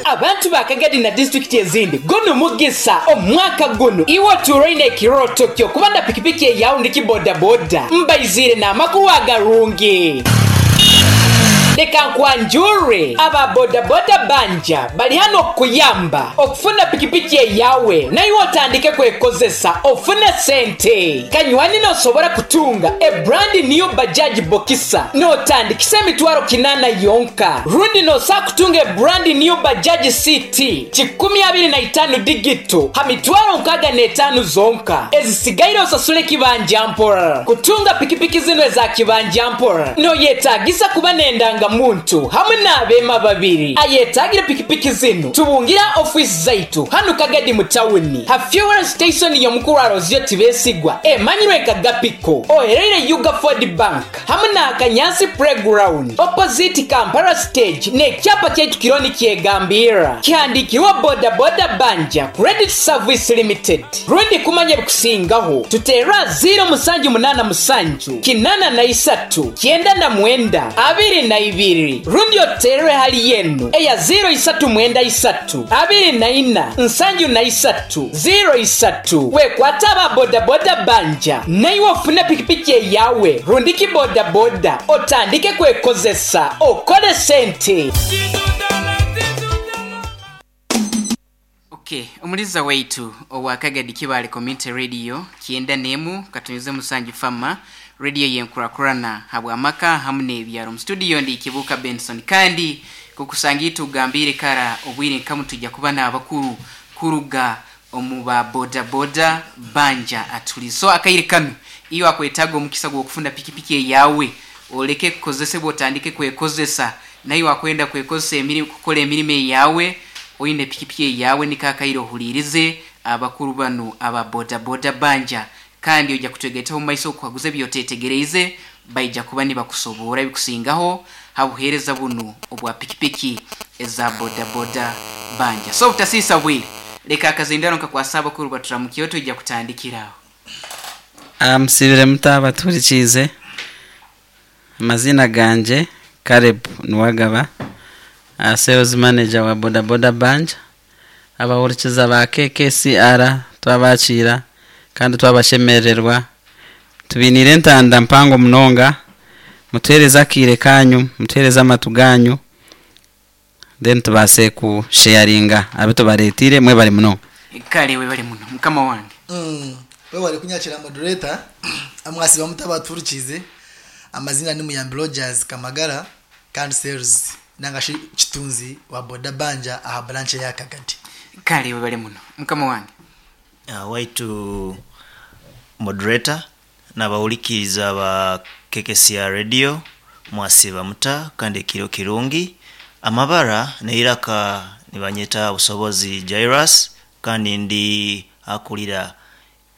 Abantu ba Kagadi na disitulikiti ezindi, gunu mugisa omwaka gunu iwe otuuraine ekirooto kyo kuba na pikipiki eyawe rundi bodaboda. Mbaiziire n'amakuru agarungi. Leka nkwanjurre, aba bodaboda banja bali hanu okukuyamba okufuna pikipiki eyawe naiwe otandike kwekozesa ofune sente. Kanywani nosobora kutunga a brand new Bajaj Boxer notandikisa emitwaro kinana yonka, rundi nosobola kutunga a brand new Bajaj CT 25 digito ha mitwaro 65 zonka, ezisigaire osasule kibanja mpora. Kutunga pikipiki zinu eza kibanja mpora noyetagisa kuba n'endangamuntu hamu n'abeema babiri. Ayetagire pikipiki zinu tubungira ofiisi zaitu hanu Kagadi mu tawuni ha fuel station y'omukuru Arozio Tibesigwa emanyirwe nka Gapiko, ohereire Uga Ford Bank hamu na Akanyansi Playground opposite Kampala Stage n'ekyapa kyaitu kiriho nikyegambirra kihandikirweho Boda Boda Banja Credit Service Limited. Rundi kumanya ebikusingaho tuteerre aha ziiro musanju munaana musanju kinaana na isatu kyenda na mwenda abiri na ibiri rundi otuteerre hali enu eya ziiro isatu mwenda isatu abiri na ina nsanju na isatu ziiro isatu. Wekwate aba bodaboda banja naiwe ofune pikipiki eyawe rundi ki bodaboda otandike kwekozesa okole sente. Ok, omuliza waitu owa Kagadi Kibaale Community Radio kyenda n'emu katunyuze musanju fama radio yenkurakurana habw'amaka hamu n'ebyaro. Mu studio ndi Kibuuka Benson kandi kukusanga itugambire kara obwire nkamu tujja kuba n'abakuru kuruga omu ba boda boda banja atuli. So akaire kanu iyo akwetaga omukisa gw'okufuna pikipiki eyawe oleke kukozesebwa otandike kwekozesa, naye wakwenda kwekozesa emirimu kukora emirimo eyawe oine pikipiki eyawe nikakaire ohulirize abakuru banu aba boda boda banja kandi ojja kutwegaitaho mu maiso okuhaguza ebyotetegereize baija kuba nibakusoboora ebikusingaho ha buheereza bunu obwa pikipiki eza boda boda banja. So obutasiisa bwire leka akazindaro nkakwasa abakuru baturamukiyo tujja kutandikiraho. Musibire muta abatuhurikiize? Amazina gangye Caleb Niwagaba, sales manager wa boda boda banja. Abahurikiza ba KKCR twabakiira kandi twabashemererwa. Tubiniire entanda mpango munonga, mutuheereze akaire kanyu, mutuheereze amatu ganyu, then tubaase kusharinga abi tubareeteire. Mwebare munonga. Kale webale muno mukama wange. Webale kunyakira moderator. Amwasiba muta abatuhurikiize? Amazina ni Muyambi Rogers Kamagara kandi sales nangashi kitunzi wa boda banja aha branch ya Kagadi. Kale webale muno mukama wange. Waitu moderator n'abahurikiiza ba KKCR radio, mwasiba muta kandi ekiro kirungi. Amabara neiraka nibanyeta Busobozi Jairus kandi ndi akulira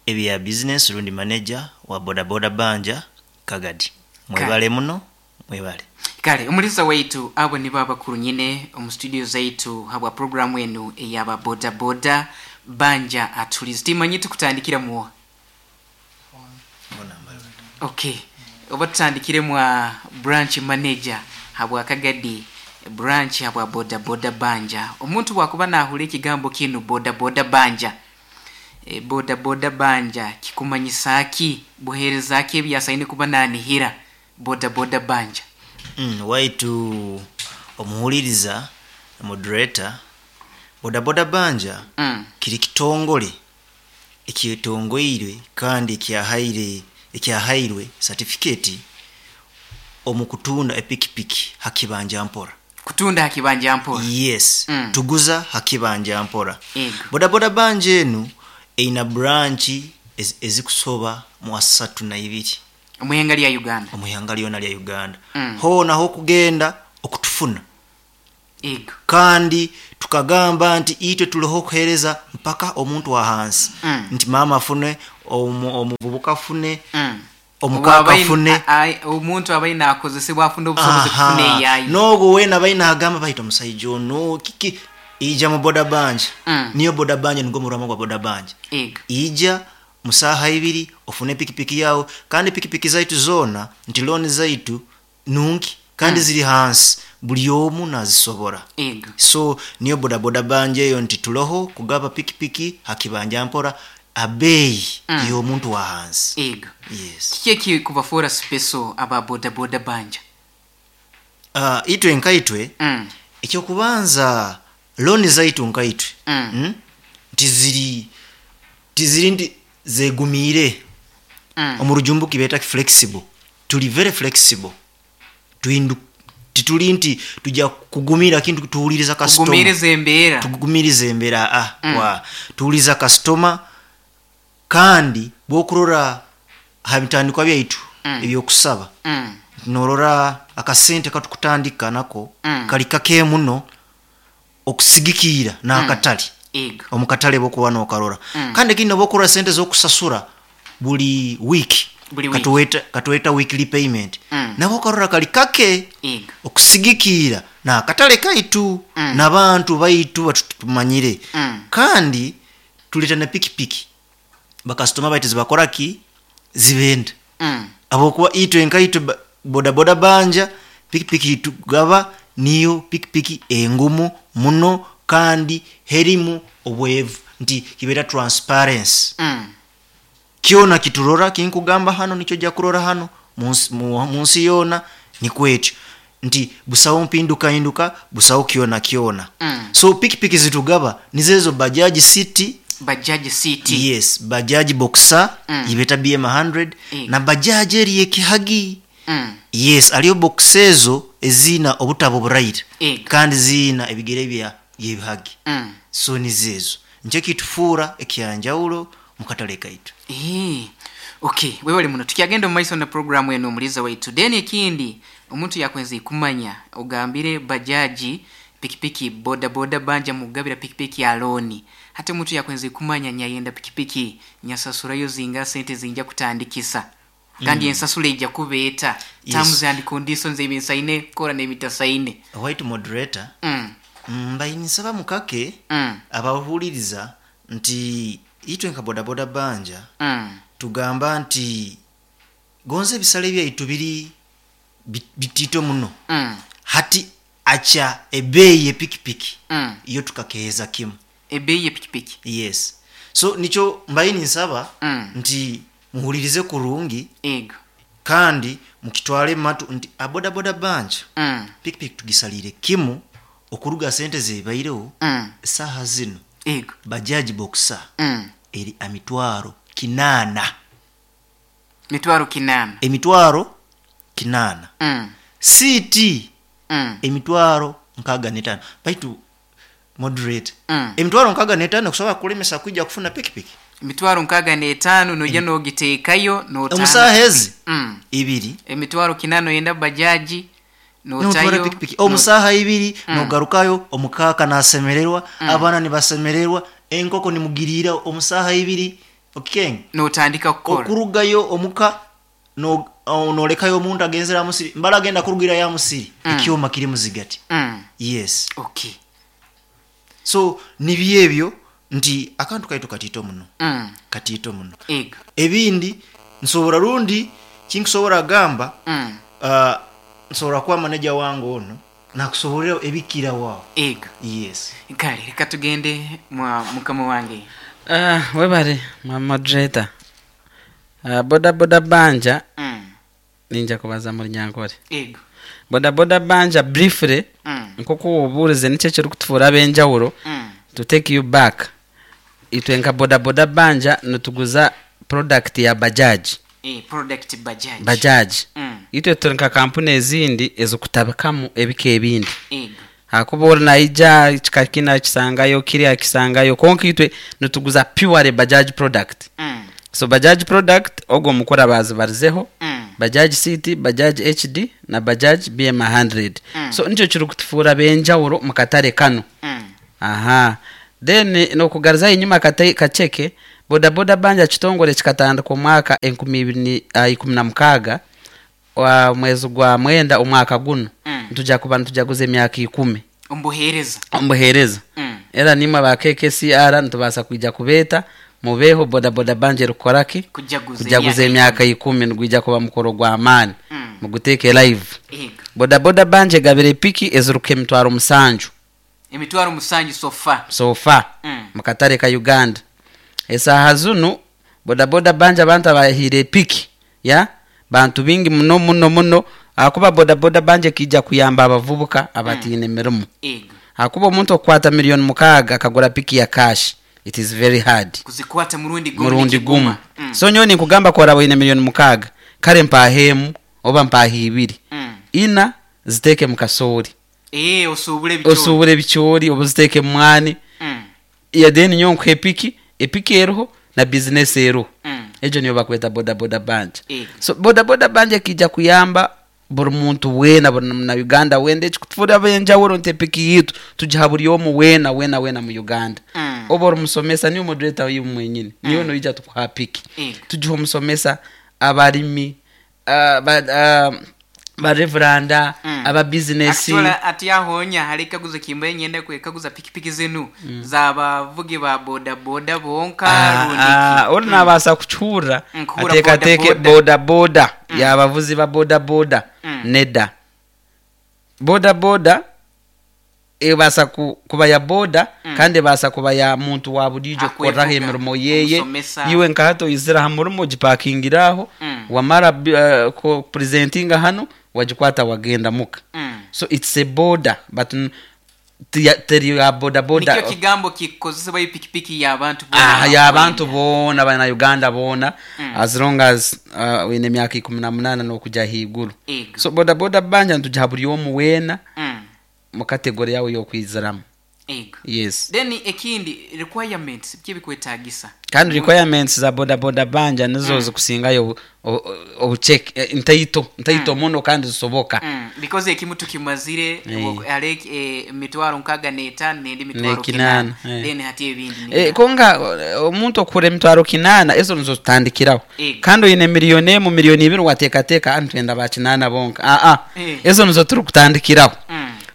ebya business rundi manager wa boda boda banja Kagadi. Mwebale muno, mwebale. Kale omuliza waitu abo nibo abakuru nyine omu studio zaitu habwa programu enu eyaba boda boda banja atulizi. Timanyi tukutandikira muwa. Okay, oba tutandikire mwa branch manager habwa Kagadi branch habwa boda boda banja. Omuntu bwakuba nahura ekigambo kinu boda boda banja, boda boda banja kikumanyisa ki? Buheereza ki ebyasaine kuba nanihira boda boda banja? Waitu omuhuliriza moderator, boda boda banja kiri kitongole ekyetongoirwe kandi ekyahairwe certificate omu kutunda epikipiki hakibanja mpora. Kutunda hakibanja mpora? Yes. Tuguza hakibanja mpora. Ego. Boda boda banja enu eina branch ezikusoba mu 32. Omuhanga lya Uganda. Omuhanga lyona lya Uganda. Ho naho kugenda okutufuna. Ego. Kandi tukagamba nti itwe tuliho kuhereza mpaka omuntu wa hansi. Nti mama afune, omuvubuka afune, omukaka afune. Omuntu abaina akozesebwa afune obusobozi kufuna eyayi. N'ogwo weena abaina agamba baita omusajja ono kiki ija mu boda banja. Niyo boda banja nigwo murama gwa boda banja. Ego. Ija musaha ibiri ofune pikipiki yawe kandi pikipiki zaitu zona nti loan zaitu nungi. Kandi ziri hansi buli omu nazisobora. Ego. So niyo bodaboda banja eyo nti tuloho kugaba pikipiki hakibanja mpora abeeyi y'omuntu wa hansi. Ego. Yes. Kiki ekikubafuura special aba bodaboda banja? Itwe nkaitwe ekyokubanza looni zaitu nkaitwe tiziri nti zegumiire. Omu rujumbuki beeta flexible, tuli very flexible. Tituli nti tujja kugumira kintu, tuwuliriza kasitoma. Kugumiriza embeera. Tugumiriza embeera, tuwuliriza kasitoma. Kandi bwokurora ha bitandikwa byaitu ebyokusaba, norora akasente katukutandika nako kali kake muno okusigikiira n'akatale. Omukatale bokuba nokarora. Kandi ekindi, noba sente z'okusasura buli wiiki, Buli wiki. Katuweta weekly payment, nabo okarora kali kake okusigikiira n'akatale kaitu n'abantu baitu batutumanyire. Kandi tuleta na pikipiki bakasitoma baitu zibakora ki zibenda, habwokuba itwe nkaitwe bodaboda banja pikipiki tugaba niyo pikipiki engumu muno kandi herimu obwevu nti kibeera transparency. Kyona kiturora kinkugamba hano nikyo ojja kurora hano munsi yoona, nikwekyo nti busaho mpindukahinduka, busaho kyona kyona. So pikipiki zitugaba nizezo Bajaji City. Bajaji City. Yes, Bajaji Boxer yibeta BM 100 na Bajaji eri ekihagi. Yes, aliyo box ezo ezina obutabo buraire kandi zina ebigere bya byebihagi. So nizezo nikyo kitufuura ekyanjawulo mukatale kaitu. Okay, webale muno. Tukyagenda omu maiso na programu eno omuliza waitu. Then ekindi omuntu yakwenze kumanya, ogambire bajaji pikipiki boda boda banja mugabira pikipiki ya looni. Hati omuntu yakwenze kumanya nyayenda pikipiki nyasasurayo zinga sente zinja kutandikisa, kandi ensasula ejja kubeeta terms and conditions ebinsaine kora n'ebitasaine. White moderator, mbayinsaba mukake abahuliriza nti itwe nka bodaboda banja tugamba nti gonza ebisale byaitu biri bitito muno. Hati acha ebeeyi epikipiki iyo tukakeeza kimu. Ebeeyi epikipiki. Yes, so nikyo mbaye ninsaba nti muhulirize kurungi ego kandi mukitwale matu nti abodaboda banja pikipiki tugisalire kimu okuruga sente zebaireho saha zino. Ego. Bajaji Boxer eri emitwaro 800. Mitwaro 800. Emitwaro 800. City emitwaro 65. Baitu moderate, emitwaro 65 kusobola kulemesa kwijja kufuna pikipiki. Emitwaro 65 nojja nogiteekayo omusaha ezi ibiri. Emitwaro 800 oyenda bajaji notwara notayo pikipiki omusaha ibiri, nogarukayo omukaka nasemererwa, abaana nibasemererwa, enkoko nimugirira omusaha ibiri okikenge. Notandika kukora. Okurugayo omuka nolekayo omuntu agenzera musiri mbala agenda kurugira ya musiri, ekyoma kiri muzigati. Yes. Okay. So nibyo ebyo nti akantu kaitu katito muno, katito muno. Ego. Ebindi nsobora rundi kinkusobora gamba, nsobora kuba manager wange ono nakusoborera ebikira waawo. Ego. Yes. Kale reka tugende mwa mukama wange. Webale mwa moderator. Boda boda banja ninja kubaza muri nyankore. Ego. Boda boda banja briefly, nkoku obuurize nikyo ekirikutufuura ab'enjawulo. To take you back, itwe nka boda boda banja nituguza product ya bajaji. Product bajaji. Bajaji. Itwe turi nka kampuni ezindi ezikutabikamu ebika ebindi. Ego. Hakuba ori naija kika kina kisangayo kiri akisangayo, konka itwe nituguza pure bajaji product. So bajaji product ogwo mukora bazibarizeho Bajaji City, Bajaji HD na Bajaji BM 100. So nikyo kirikutufuura benjawulo mu katale kano. Aha, then nokugariza enyuma kacheke, bodaboda banja kitongole kikatandika omwaka 2016 wa mwezi gwa 9 omwaka guno. Nituja kuba nitujaguza emyaka 10 ombuhereza. Ombuhereza. Era nimwe ba KKCR nitubasa kwija kubeeta mubeho bodaboda banja erukukoraki kujaguza kujaguza emyaka 10, nigwija kuba mukoro gwa amaani. Muguteeke live. Ego. Bodaboda banja egabire epiki ezirukuha 700,000. 700,000 so far. So far. Mukatare ka Uganda esaaha zunu bodaboda banja abantu abahiire epiki ya bantu bingi muno muno muno, ahakuba bodaboda banja ekija kuyamba abavubuka abatiine mirimo. Ego. Ahakuba omuntu okukwata 6 million akagura piki ya cash, it is very hard. Kuzikwata murundi gumu. Murundi gumu. Nikiguma. So nyowe ninkugamba koraba oine 6 million, kare mpaheemu oba mpaha ibiri, ina ziteeke mu kasoori. Osuubule ebicoori. Osuubure ebicoori oba ziteeke mu mwani. Ya then nyowe nkuha epiki, epiki eriho na bizinesi eriho. Egyo niyo bakweta bodaboda banja. So bodaboda banja ekija kuyamba buri muntu weena, buri na Uganda wenda. Ekikutufura abenjawulo nti epiki yitu tugiha buri omu weena weena weena mu Uganda. Oba ori musomesa, niwe moderator wiwe mwenyini, niwe noija tukuha piki. Tugiha omusomesa, abarimi, bareveranda, aba bizinesi. Actually, ati ahonya hari ekaguzo kimbaye nyenda kwekaguza, pikipiki zinu z'abavugi ba boda boda bonka rundi ki? Ori nabaasa kucurra Nkuhura ateekateeke boda boda boda yabavuzi ba boda boda. Nedda, boda boda ebaasa kuba ya boda, kandi ebaasa kuba ya muntu wa burijo kukorraho Akwevuga, emirimo yeye. omusomesa. Iwe nka hati oyizire aha murimo, ogipakingira aho, wamara presentinga hano, wagikwata wagenda muka. So it's a boda, but teri ya boda boda. Nikyo kigambo kikozesebwa ipikipiki y'abantu Ah, boona. y'abantu boona, bana Uganda boona, as long as wine emyaka 18 n'okujya ahaiguru. Ego. So boda boda banja nitugiha buri omu weena mu category yawe y'okwiziramu. Ego. Yes. Then ekindi, requirements, biki ebikwetagisa? Kandi requirements za boda boda banja nizo zikusingayo obucheke, ntaito ntaito muno kandi zisoboka. Because ekimu tukimazire, hali 65,000 nendi mitwaro 800. 800. Then hati ebindi Konga omuntu okura 800,000, ezo nizo tutandikiraho. Ego. Kandi oyine 1 million, 2 million, wateekateeka ntwenda ba 800 bonka, aa. Ezo nizo turi kutandikiraho.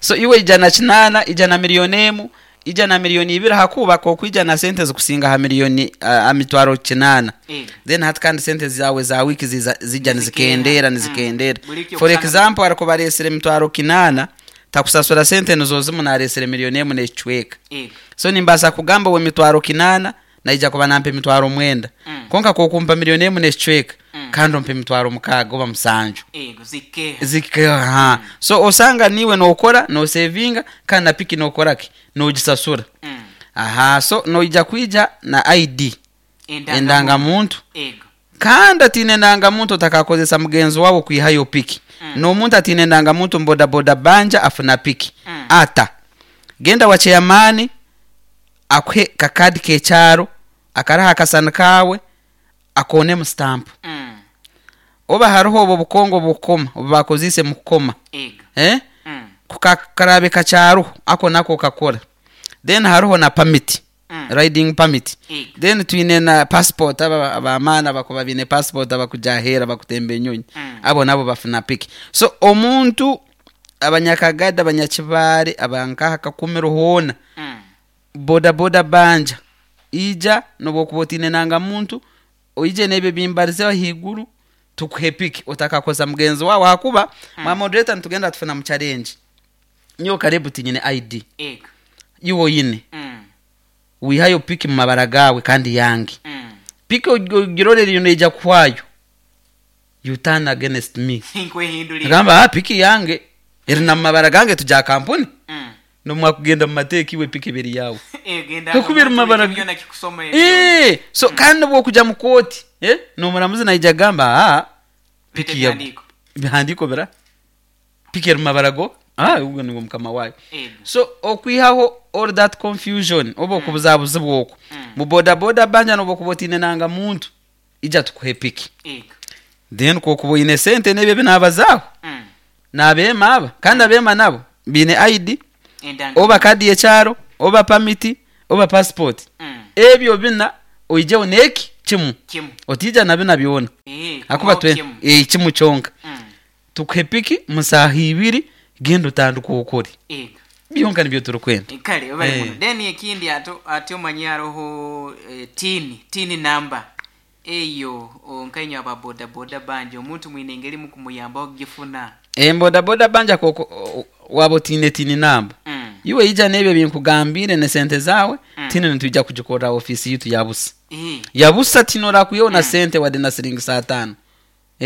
So iwe ija na 800, ija na 1 million, ija na 2 million, hakubaka okwija na sente zikusinga ha miliyoni, ha 800,000. Then hati kandi sente zawe za wiki zijja nizikendera, nizikendera. Buri kyo For kusanga- example, ariko baresire 800,000, takusasura sente nizo zimu naresire 1.5 million. So nimbaasa kugamba we 800,000 naija kuba nampa 90,000. Konka kokumpa 1.5 million, kandi ompa 60,000 oba 7,000. Ego, zikeha. Zikeha. So osanga niwe nokora nosevinga, kandi na piki nokoraki, nogisasura. Aha, so noija kwija na ID, endangamuntu. Ego. Kandi atine endangamuntu otakakozesa mugenzi wawe kwihayo piki. N'omuntu atine endangamuntu mbodaboda banja afuna piki ata genda wa chairman akuhe kakadi kekyaro akaraha akasani kawe akonemu stamp. Oba hariho obwo bukongo bukoma obu bakozise mu kukoma. Ego. Eh? Kukakarabe kakyaruho ako nako kakora. Then hariho na permit, riding permit. Ego. Then twine na passport, aba abamaana bakuba bine passport abakujahera bakutemba enyonyi. Abo nabo bafuna piki. So omuntu abanyakagada, abanyakibare, abankaha kakumiro hoona, boda boda banja ija nobwokuba otine nanga muntu, oije nebyo bimbarize ahiguru, tukuhe piki otakakoza mugenzi wawe, hakuba mwa moderator nitugenda tufuna mu challenge. Nyo karibu tinyine ID. Ego. Iwo yine wihayo piki mu mabara gawe kandi yange. Piki ogirorera iyo neija kuhwayo, you turn against me. Nkwehindulira. Agamba, ah, piki yange eri na mu mabara gange, tuja kampuni. Nomwakugenda mu mateeka iwe piki ebiri yawe. Ego, Kakubira mu mabara byona kikusoma ebyo. So kandi bwokuja mu kooti, nomuramuzi naija gamba, ah, Bite piki ya bihandiko. Bihandiko bira piki eri mu mabara go, ah, ubwo nibwo mukama wayo. Ego. So okwihaho all that confusion oba okubuzabuzibwa okwo, mu boda boda banja noba okuba otine nanga muntu, ija tukuhe piki. Ego. Then kokuba oyine sente nebyo ebinabazaaho, nabeema aba kandi abeema nabo biine ID, Endanga. oba kadi yekyaro, oba permit, oba passport. Ebyo bina oijeho neki kimu. Kimu. Otija na bina byona. Akuba Kumaho twe kimu. Kimu kyonka. Tukuhe piki musaha ibiri, genda otandika okore. Ego. Byonka nibyo turikwenda. Kale bali muno. Then ekindi, ato ate omanyi haroho TIN number. Eyo nkainywe aba boda boda banja omuntu mwine engeri mukumuyambaho kugifuna. Boda banja koko waba otiine tini namba. Iwe ija n'ebyo binkugambire ne sente zawe. Tini nitwija kugikorra ofisi yitu yabusa. Yabusa tinorakuyeho na sente wadde na siringi saa tano.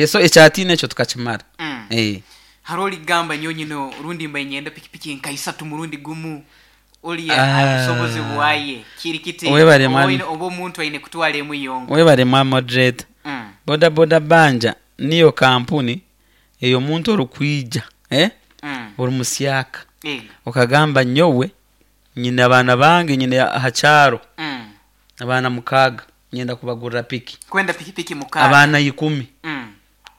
So ekyatiine ekyo tukakimara. Hariho oligamba nyowe nyine rundi mba nyenda pikipiki nka isatu murundi gumu oli Ah. obusobozi bwaye kiri kiti? Webale, mwami. Oba omuntu aine kutwara emu yonka? Webale mwa moderator. Boda boda banja niyo kampuni eyo omuntu orikwija, eh? Ori musyaka, okagamba nyowe nyine abaana bange, nyine aha kyaro abaana 6, nyenda kubagurira piki. Kwenda pikipiki 6. Abaana 10.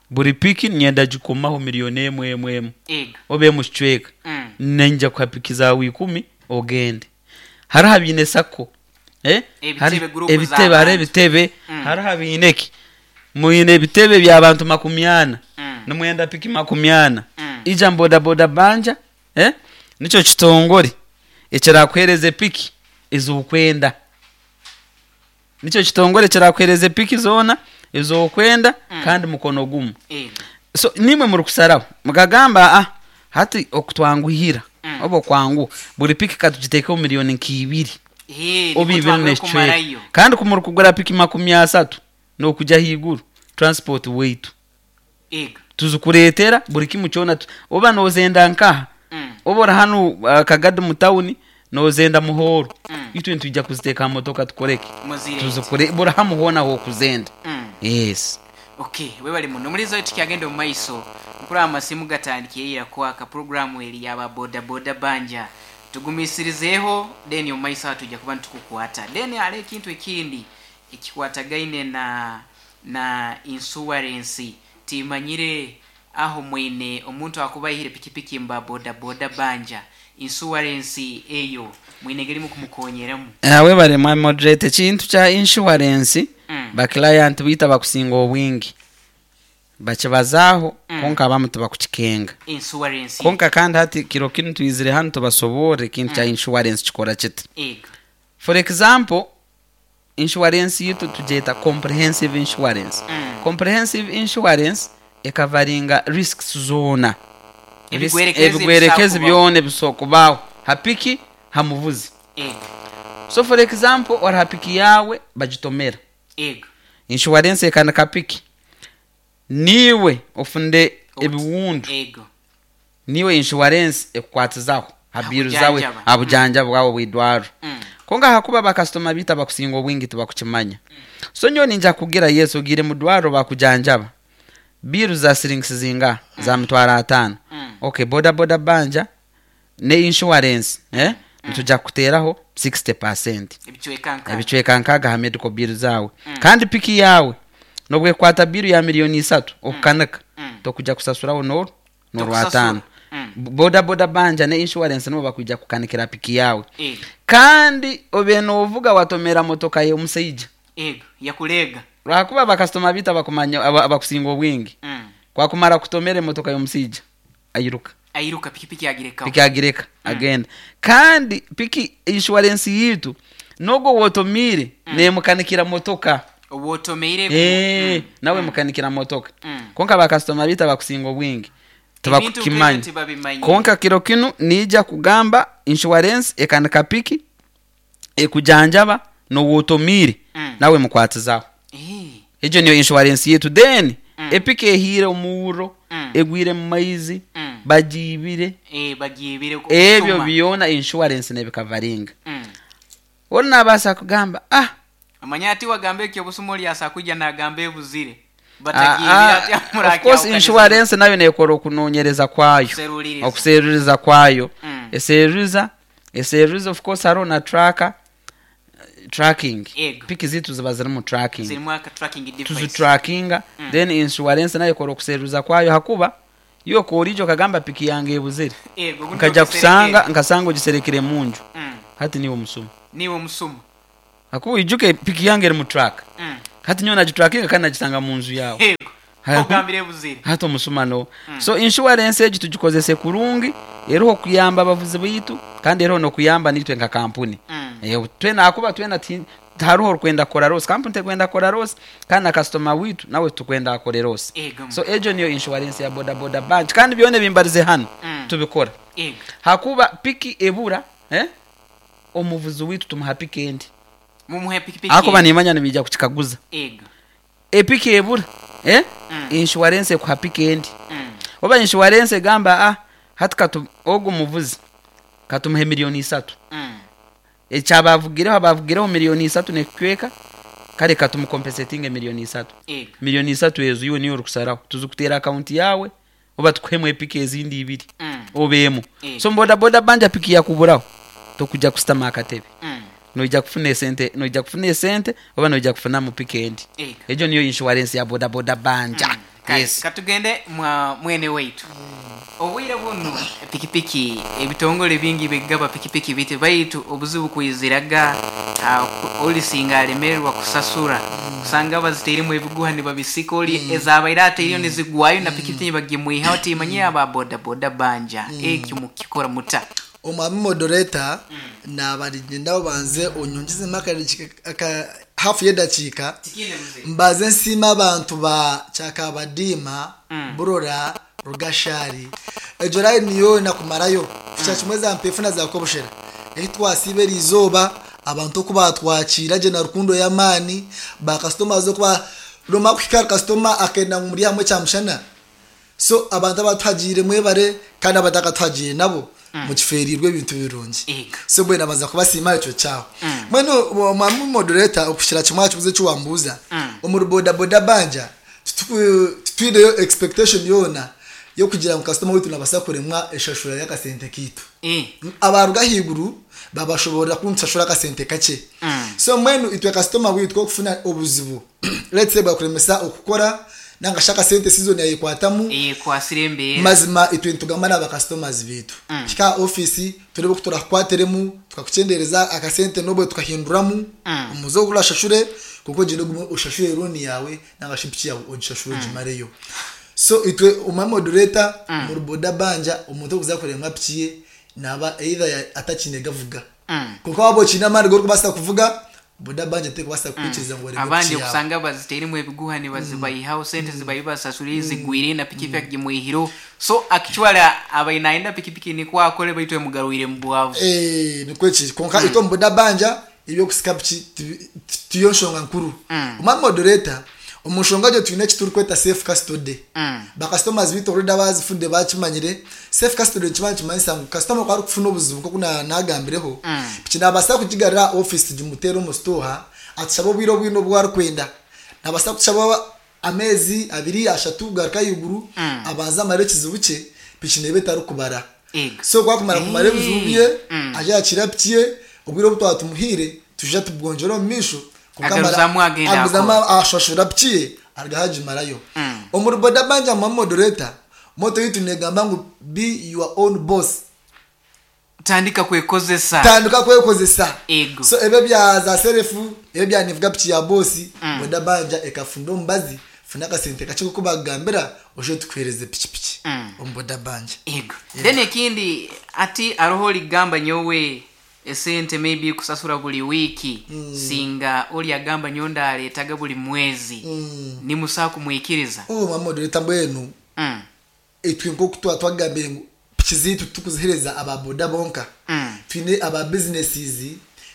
Buri piki nyenda gikumaho miliyoni 1 emwe emwe. Obe mukicweka. Nenja kuha piki zawe 10 ogende. Hariho abiine sako, eh? Ebitebe, group ebitebe, z'abantu. Hariho ebitebe. Hariho abiine eki mwine ebitebe by'abantu 40. Nimwenda piki 40. Ija boda boda banja, eh? Nikyo kitongore ekirakuhereza epiki ez'okwenda, nikyo kitongore ekirakuhereza epiki zoona ez'okwenda. Kandi mukono gumu. So nimwe muri kusaraho mukagamba, ah, hati okutwanguhira oba okwangu buri piki katugitekeho miliyoni nka 2. Eh, oba niko ibiri twagala n'ekicweka. kumarayo. Kandi kumuri kugura piki 30 n'okujya haiguru transport weitu tuzikureetera buri kimu kyona oba nozenda nkaha, oba ori hanu Kagadi mu tawuni nozenda Muhoro, itwe nitwijja kuziteeka aha motoka tukoreke. Muzirete. Tuzikure buri hamu hoona hokuzenda. Yes. Okay, webale muno. Mulizo tukyagenda omu maiso, nkuraba amasimu gatandikiye kwaka. Programu eri yaba boda boda banja, tugumisirizeeho then omu maiso aho tujja kuba nitukukwata. Then hariho ekintu ekindi ekikwatagaine na insurance. Timanyire aho mwine omuntu akuba ayihire pikipiki mba boda boda banja, insurance eyo mwine engeri mukumukonyeramu? Webale mwa moderator. Ekintu kya insurance, baclient bita bakusinga obwingi bakibazaaho, konka abamu tibakukikenga. Insurance. Konka kandi hati kiro kinu twizire hanu tubasoborre ekintu kya insurance kikora kiti. For example, insurance yitu tugyeta comprehensive insurance. Comprehensive insurance ekavaringa risks zoona. Ebigwerekezi. Ebigwerekezi Ebisobola byona ebisobola kubaho ha piki, ha muvuzi. So for example, ori ha piki yawe bagitomera, insurance ekanika piki, niwe ofunde ebiwundu, niwe insurance ekukwatizaho ha biru zawe. Habujanjaba. Habujanjaba bwawe bwidwaro. Konka hakuba bakasitoma bita bakusinga obwingi tibakukimanya. So nyowe ninja kugira yesu ogire mudwaro bakujanjaba, biru za siringisi zinga za 500,000. Okay, boda boda banja ne insurance, eh? Nitujja kuteraho 60%. Ebicweka nka Ebicweka nkaga ha medical bill zawe. Kandi piki yawe nobwekwata biru ya miliyoni 3 okukanika, tokujja kusasuraho nor norwatano. Boda boda banja ne insurance nibo bakwija kukanikira piki yawe. Kandi obe novuga watomera motoka ye omusaija. Ego, yakulega. Lwakuba bakasitoma bita bakumanya abakusinga obwingi, kwakumara kutomera emotoka y'omusaija ayiruka. Airuka, pikipiki agirekaho. Piki agireka agenda. Kandi piki insurance yitu nogo wotomire nemukanikira motoka. Owotomeire. Eh, nawe mukanikira motoka. Konka bakasitoma bita bakusinga obwingi Ebintu tibakukimanya. nk'ebyo tibabimanyi. Konka kiro kinu nija kugamba insurance ekanika piki, ekujanjaba nowotomire, nawe mukwatizaho. Egyo niyo insurance yitu. Then epiki ehire omuuro, egwire mu maizi, bagiibire, Eh, bagiibire ebyo kusuma. byona insurance nebikavaringa. Ori nabaasa kugamba, ah, Amanya ati wagamba ekyo obusuma oli asa kujja nagamba ebuzire ah, batagiibire ah, ati of course insurance nayo nekora okunonyereza kwayo. Okuseruliriza. Okuseruriza kwayo. Eseruriza, of course hariho na tracker, tracking. Piki zitu ziba zirimu tracking. Zirimu aka tracking device. Tuzitrackinga. Then insurance nayo ekora okuseruza kwayo, hakuba iwe korijo okagamba piki yange ebuzire, Ego, gundi nkaja ogiserekere. kusanga nkasanga ogiserekere munju, hati niwe omusuma. Niwe omusuma. Hakuba ijuke piki yange eri mu track. Hati nyowe nagitrackinga kandi nagisanga mu nju yawe. Ogambire ebuzire. Hati omusuma no. So insurance egi tugikozese kurungi, eriho okuyamba abavuzi baitu kandi eriho nokuyamba nitwe nka kampuni. Eh, twena hakuba twena Tihariho orikwenda kukora loss, kampuni tekwenda kukora loss kandi na kasitoma witu nawe titukwenda akore loss. Ego. So egyo niyo inshuwarensi ya bodaboda bank kandi byona ebimbarize hanu tubikora. Ego. Hakuba piki ebura, eh, omuvuzi witu tumuha piki endi. Mumuhe pikipiki. Ahakuba nimanya nibaija kukikaguza. Ego. Epiki ebura, eh, inshuwarensi ekuha piki endi. Oba inshuwarensi egamba, ah, hati katu ogu muvuzi katumuhe 3 million. Ekyabavugireho abavugireho 3 million nekicweka, kare katumukompensetinge 3 million. Ego. 3 million ezo iwe niyo orikusaraho, tuzikuteera akaunti yawe oba tukuhemu epiki ezindi ibiri obeemu. So bodaboda banja piki yakuburaho, tokujja kusitama akatebe. Noija kufuna esente, noija kufuna esente oba noija kufunamu piki endi. Ego. Egyo niyo inshuwarensi ya bodaboda banja. Kale, Yes. katugende mwa mwene waitu. Obwire bunu pikipiki ebitongole bingi bigaba pikipiki biti, baitu obuzibu kwiziraga olisinga alemererwa kusasura, kusanga baziteiremu ebiguha nibabisika, oli ezabaire ateireyo nizigwayo na pikipiki bagimwihaho. Timanye aba bodaboda banja ekyo mukikora muta? Omwami moderator, nabarigenda banze onyongezemu hafu y'edakiika mbaze nsiima abantu ba Kyakabadiima, Burora, Rugashari, egyo line yoona kumarayo kukira kimwe za Mpefu na za Kobushera ehi twasiiba eri izooba. Abantu oku batwakiira gye na rukundo y'amaani, bakasitoma okuba nomara kuhika ahari kasitoma akenda ngu muri hamwe kyamushana. So abantu abatuhagiire mwebare, kandi abatakatuhagiire nabo mukifeerirwe ebintu birungi. Ego. So mbwenu nabanza kubasiima ekyo kyaho. Mbwenu omwami moderator, okushira kimwe aha kibuzo eki wambuuza, omuri bodaboda banja titwineyo expectation yoona yokugira ngu kasitoma witu nabasa kuremwa eshashura y'akasente kiitu. Abaruga ahaiguru babashoborera kuntushashura akasente kakye. So mbwenu itwe kasitoma witu okufuna obuzibu, let's say bwakuremesa okukora nanga shi akasente season yayikwatamu, Ekwasire embeera. Mazima itwe nitugamba n'abakasitomazi bitu, hika ofisi turebe oku turakukwatiremu, tukakuchendereza akasente nobwe tukahinduramu omuze ogurashashure, kuko ogende ogume oshashure loan yawe nanga shi piki yawe ogishashure ogimareyo. So itwe omwa moderator muri boda banja, omuntu okuza kuremwa piki ye naba either atakine gavuga, kuko waba okine amaani gorikubaasa kuvuga, boda banja tekubasa kukwikiriza ngu oreme Abandi piki yawe. okusanga baziteiremu ebiguha nibazibayihaho, sente zibayi basasuriye zigwire na pikipiki agimwihiro. So actually abaine nayenda pikipiki nikwo akore, baitu emugarwire mu bwavu. Eh, nikwo kiri. Konka itwe omu boda banja ebyokusika piki tiyo nshonga nkuru. Omwa moderator, omu nshonga egyo twine eki turikweta safe custody. Bakasitomazi bitu already abazifudde bakimanyire. Safe custody nikiba nikimanyisa ngu kasitoma ku arikufuna obuzibu nkoku nagambireho, piki nabaasa kugigarura office tugimuteere omu store, atushaba obwire obwine obu arikwenda. Nabaasa kutushaba ameezi 2, 3 kugaruka ahaiguru, abanze amare ekizibu kye, piki neeba etarikubara. Ego. So kwakumara kumara ebizibu bye, aje akira piki ye obwire obu twatumuhiire, tuja tubwongyera omu maisho. Konka Agaruzamu agenda. Agumizamu ashashura piki ye, arugaho agimarayo. Omuri boda banja mwa moderator, motto yitu negamba ngu "Be your own boss." Tandika kwekozesa. Tandika kwekozesa. Ego. So ebyo bya za self, ebyo bya nivuga piki ya bosi, boda banja ekafunda omubazi, funa akasente kakye kuko bagambira oje tukuhereze pikipiki omu boda banja. Ego. Then ekindi, ati aroho ligamba nyowe esente maybe kusasura buli wiiki, singa oli agamba nyowe ndaleetaga buli mwezi, nimusaa kumwikiriza? Oh, mwa moderator, mbwenu itwe nkoku tuba twagambire ngu piki ziitu tukuzihereza ababoda bonka, twine aba businesses,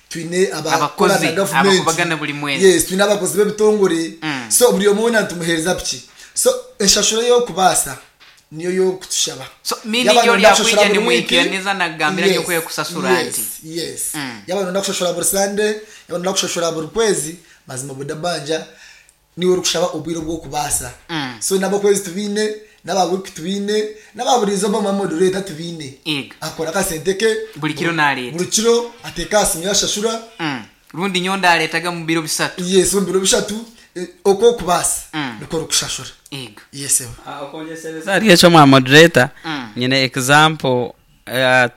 twine abakora Abakozi, na government. abakubagana buli mwezi. Yes, twine abakozi b'ebitongore. So buri omwe wena nitumuhereza piki, so enshashuro y'okubaasa niyo y'okutushaba. So, meaning Yaba yoli nonda kushashura akwija buri wiki, nimwikiraniza nagambira yes, nyokwe kusasura yes, nti. Yes. Yaba nonda kushashura buri Sande, yaba nonda kushashura buri kwezi, mazima boda banja niwe orikushaba obwire bw'okubaasa. So n'abakwezi tubiine, n'aba wiki tubiine, n'aba buri izooba mwa moderator tubiine. Ego. Akora akasente ke. Buli kiro naleeta. Buri kiro ateeka aha simu ye ashashura. Rundi nyowe ndaleetaga mu biro 3. Yes, mu biro 3, okwo okubaasa nikwo orikushashura. Ego. Yes, ewe. Okwongyeshereza hariyo ekyo mwa moderator, nyine example.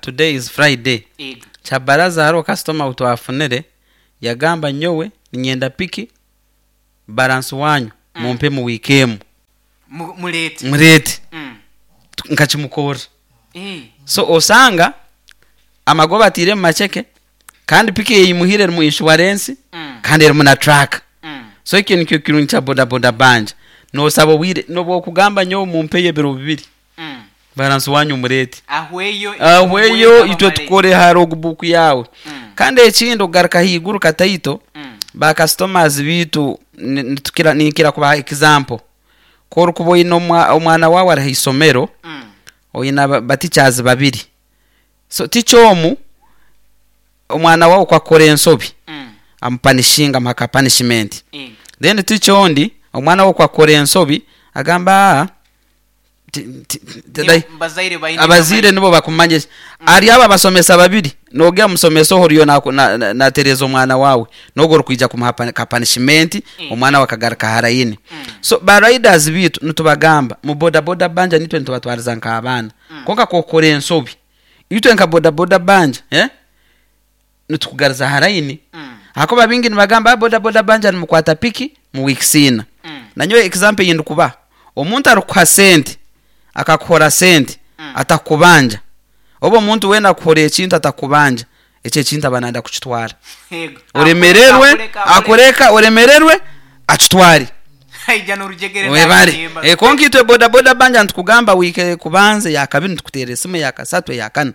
Today is Friday. Ego. Kyabaraza hariho customer twafunire yagamba, nyowe ninyenda piki, balance wanyu mumpe mu wiiki emu. Muleete. Mureete. Nkakimukorra. So osanga amagoba atiire mu macheke kandi piki eyimuhire erimu insurance. Kandi erimu na track. So ekyo nikyo kirungi kya boda boda banja. Nosaba obwire nobu okugamba nyowe mumpeyo ebiro bibiri, baransi wanyu mureete. Ahweyo. Ahweyo, itwe tukore ha logbook yawe. Kandi ekindi, okugaruka haiguru kataito, ba customers bitu nitukira ninkira kubaha example. Korukuba oine omwana wawe ari haisomero, oine ba teachers babiri. So teacher omu, omwana wawe kwakora ensobi, amupanishinga, amuha ka punishment. Then teacher ondi, omwana wawe kwakora ensobi, agamba abazaire nibo bakumanya. Ari aba abasomesa babiri, nogera musomesa ohoriyo natereza omwana wawe, nogo orikwija kumuha ka punishment, omwana wawe akagaruka harayini. So ba riders bitu nitubagamba mu boda boda banja nitwe nitubatwariza nk'abaana. Konka kokora ensobi, itwe nka boda boda banja, nitukugariza harayini. Hakuba bingi nibagamba boda boda banja nimukwata piki mu weeks ina. Nanyowe example yindi kuba omuntu arikuha sente, akakuhora sente, atakubanja. Oba omuntu wena akuhora ekintu atakubanja, ekyo ekintu aba nanda kukitwara. Oremererwe, akureka, oremererwe, akitware. Webare. Konka itwe boda boda banja nitukugamba wike kubanza ya kabiri nitukuteera esimu, ya kasatu, ya kana.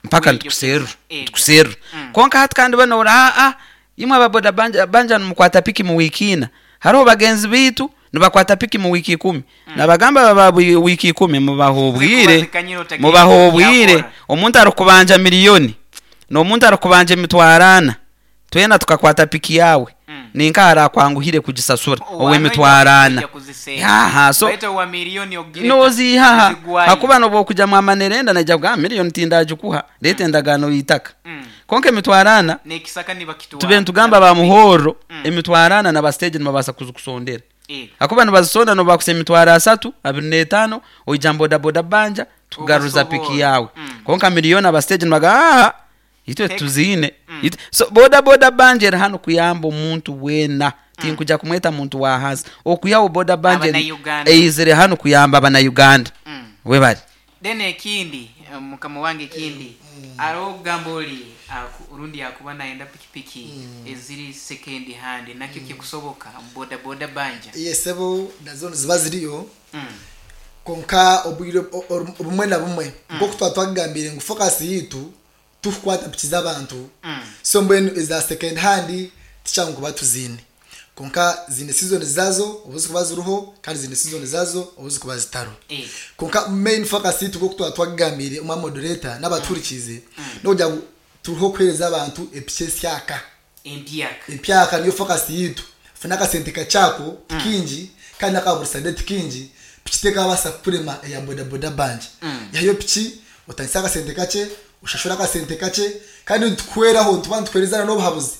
Mpaka nitukuserura. Nitukuserura. Konka hati kandi bano ora imwe aba boda banja nimukwata piki mu wiki ina. Hariho bagenzi bitu nibakwata piki mu wiki 10. Nabagamba baba wiki 10 mubaho obwire. Mubaho obwire. Omuntu arikubanja miliyoni n'omuntu arikubanja emitwaro ana, twena tukakwata piki yawe. Ninka arakwanguhire kugisasura owemitwaro ana. Yaha, so nozihaha hakuba nobo kuja mu manerenda naija kugamba miliyoni tindagikuha, leta endagaano y'itaka. Konka emitwaro ana, tube nitugamba ba muhoro, emitwaro ana na stage nibabasa kuzikusondera. Hakuba nibazisonda nobakusa emitwaro asatu, abiri n'etaano, oija boda boda banja tugaruza piki yawe. Konka miliyoni aba stage nibaga itwe tuzine. So boda boda banja eri hano kuyamba omuntu wena. Tinkuja kumweta muntu wa hansi. Okuyaho boda banja eizire hano kuyamba abana Uganda. Webali. Then ekindi, mukama wange ekindi, aro gamba oli urundi yakuba naenda pikipiki eziri second hand, nakyo kikusoboka boda boda banja. Yesebo nazo ziba ziriyo. Konka obwire obumwe na bumwe nko twatwagambire ngu focus yitu tukwata piki z'abantu. So mbwenu eza second hand tichangu kuba tuzine. Konka zine season zazo obuzi kuba ziruho, kandi zine season zazo obuzi kuba zitaro. Konka main focus yitu nko twatwagambire umwa moderator n'abaturikize, no turuho kwereza abantu epiki syaka. Empyaka. Empyaka niyo focus yitu. Funa akasente kachako kingi kandi akaburisa kingi pikiteka abasa kurema ya boda boda banja. Yayo piki utandisa akasente kache, ushashura akasente kache, kandi tukweraho tuba tukwerezana n'obuhabuzi.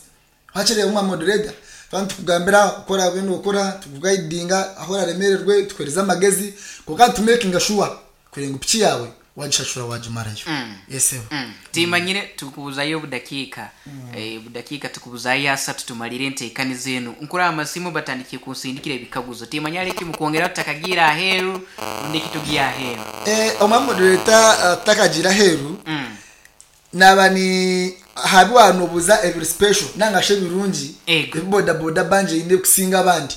Hakiri umwa moderator tuba tukugambira ukora bino ukora, tukuguidinga aho raremererwe, tukwereza amagezi kuko tumaking sure kurenga piki yawe wagishashura wagimarayo. Yes. Timanyire tukubuzayo budakika. Budakika tukubuzayo asatu tumalire enteekani zenu. Nkura amasimu batandikiye kunsindikira ebikaguzo. Timanyale ki mukwongera tutakagira aheru rundi kitugiya aheru. Omwa moderator takagira aheru. Naba ni habiwa nobuza every special nanga she birungi boda boda banje inde kusinga abandi.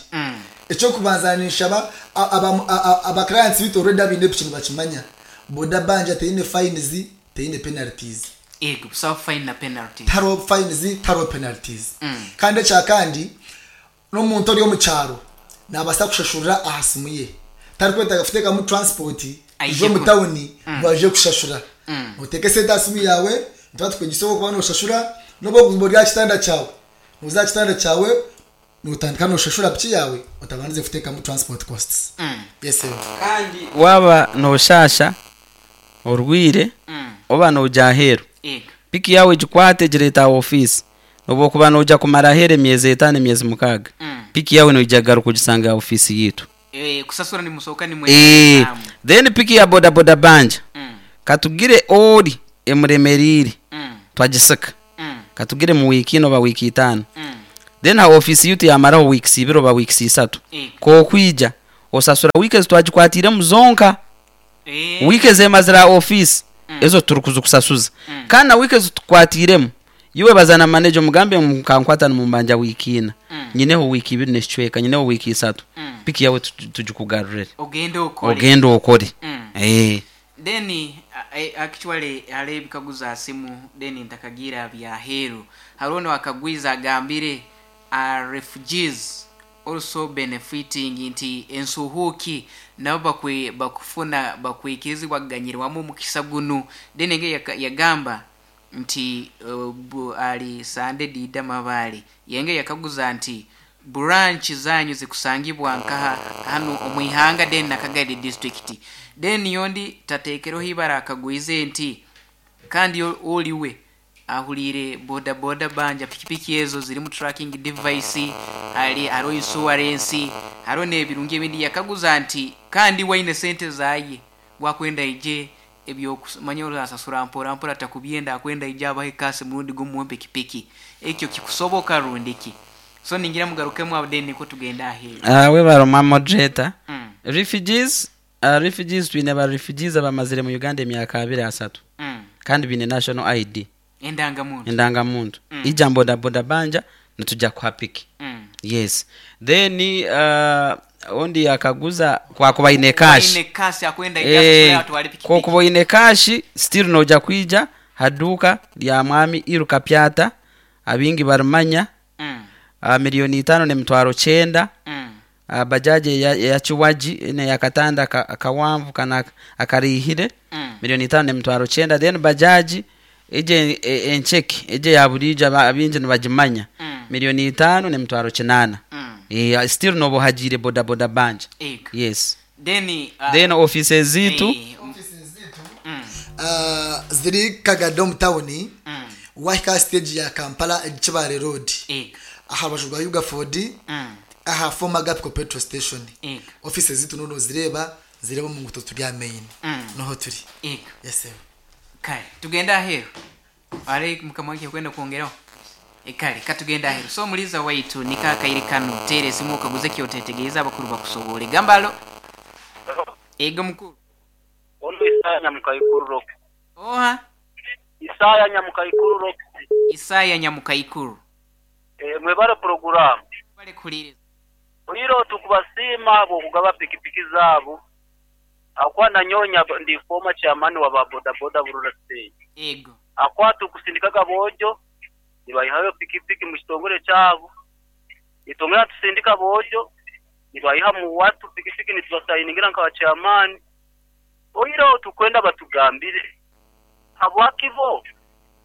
Ekyo kubanza nishaba aba clients bitu already abinde pikintu bakimanya. Boda banja teine fines, teine penalties. Ego, so fine na penalties. Taro fines, taro penalties. Kandi cha kandi n'omuntu ori omu cyaro nabasa kushashura ahasimuye. Tari kweta gafuteka mu transport ijo mu town baje kushashura. Uteke senta asimu yawe, ntatwe kuba no shashura nobo kuzimbo kitanda cyawe. Nuza kitanda cyawe nutandika no shashura piki yawe utabanze futeka mu transport costs. Yes sir. Kandi waba no shasha orwire oba no jahero. Piki yawe gikwate gireta office. Nobo kuba no ja kumara here miezi 5 miezi 6. Piki yawe no ijagaru kugisanga office yitu. Kusasura ni musoka ni mwe. Then piki ya boda boda banja. Katugire ori emuremerire. Twagisaka. Katugire mu wiki no ba wiki 5. Then ha office yitu yamaraho weeks 2 ba weeks 3. Ko kwija osasura weeks twagikwatire muzonka. Weeks zemazira office ezo turukuza kusasuza. Kana weeks tukwatiremo Iwe bazana manager omugambe mukankwata nimumbanja wiiki ina, nyineho wiiki 2 n'ekicweka, nyineho wiiki 3, piki yawe tugikugarurire. Ogende okore. Ogende okore. Then actually hariho ebikaguzo aha simu, then ntakagira byaheeru. Hariho nowakagwiza agambire, refugees also benefiting, nti ensuhuuki nabo bakufuna bakwikirizibwa kuganyirwamu omukisa gunu. Then enge yagamba nti ali Sande Dida Mabale yenge yakaguza nti branch zanyu zikusangibwa nkaha hano omwihanga then Nakagadi district. Then yondi tatekereho ibara akagwize nti kandi oliwe ahulire boda boda banja pikipiki ezo zirimu tracking device, hali hariho insurance, hariho n'ebirungi ebindi. Yakaguza nti kandi waine sente zaye wakwenda ije ebyokumanya orasasura mpora mpora takubyenda akwenda ije abahe kasi murundi gumwe pikipiki ekyo kikusoboka rundiki. So ningira mugarukemu abo then niko tugenda aheeru. We baroma moderator. Refugees twine ba refugees abamazire mu Uganda emyaka 23. Kandi bine national ID. Endangamuntu. Endangamuntu. Ija boda boda banja nitujja kuha piki. Yes. Then ondi akaguza kwa kuba ine cash. Ine cash akwenda ija atwale pikipiki. Kwa kuba ine cash still noja kwija haduka lya mwami Iruka Pyata abingi barumanya. Milioni 5 n'emitwaro 9. Bajaji ya chiwaji ine yakatanda akawanvu kana akarihire. Milioni 5 n'emitwaro 9. Then bajaji eje encheki eje ya burija abinji nibagimanya. Milioni 5 n'emitwaro 8. Still nobo hajire boda boda banja. Yes. Then then offices zitu ziri Kagadom town, wahika stage ya Kampala Kibare Road. Aha bajurwa Yuga Ford, aha former Gapco petrol station. Offices zitu nono zireba mu nguto turi main. Noho turi. Yes sir. Kale tugenda aheru. Ale mkamwake kwenda kuongeraho. Kale katugenda aheru. So muliza waitu nikakaire kano tere simu kaguze kyotetegereza abakuru bakusobole. Gambalo. Ego mukuru. Ono Isaya Nyamukaikuru Rock. Oha. Isaya Nyamukaikuru Rock. Isaya Nyamukaikuru. Mwebale program. Bale kulire. Oyiro tukubasima abo kugaba pikipiki zabo. Akwa nanyonya ndi former chairman wa boda boda Burura state. Ego. Akwa tukusindikaga bojo nibayihayo pikipiki mu kitongole cyabo. Itongera tusindika bojo nibayiha mu watu pikipiki nitubasayiningira nka chairman. Oyiro tukwenda batugambire. Habwakibo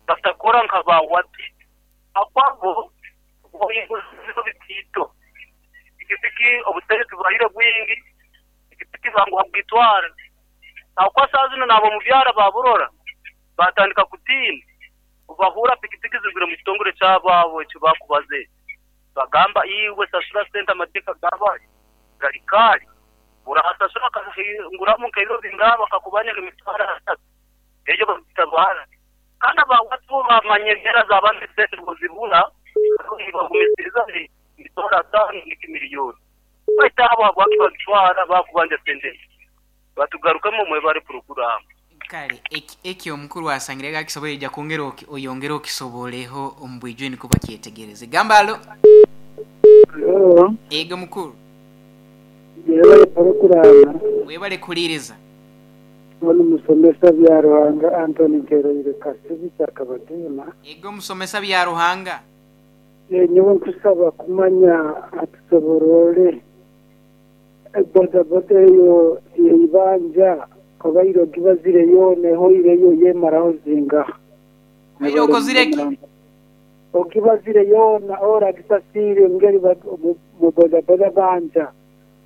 batakora nka ba watu. Akwabo boyiguzo bitito. Pikipiki obutere tubahire bwingi. Pikipiki bangu habwitwara. Akwa sazino nabo mu byara baburora. Batandika kutina. Ubahura pikipiki zigura mu kitongore cyababo cyo bakubaze. Bagamba iwe sasura center amateka gabaye. Garikari. Urahasasura nguramo kairo bingaba kakubanya imitwara atatu. Ejo batabara. Kandi abawatu bamanyegera zabandi sente bozibura bagumisiriza imitwara 5 miliyoni. Baita abo bakibagitwara bakubanja sente. Batugarukamo mwe bari program. Kale ekyo omukuru asangire gakisoboye ja kongera oyongera okisoboleho ombwijwe niko bakyetegereze. Gambalo. Ego mukuru. Yebale program. Webale kuliriza. Ono musomesa bya Ruhanga Anthony Nkereire Kasibi Kyakabadema. Ego musomesa bya Ruhanga. Nyowe nkusaba kumanya atusoborole boda boda eyo yeibanja kobairo gibazire yone hoireyo yemaraho zinga. Obaire okozireki? Okibazire yona ora gisasire ngeri mu boda boda banja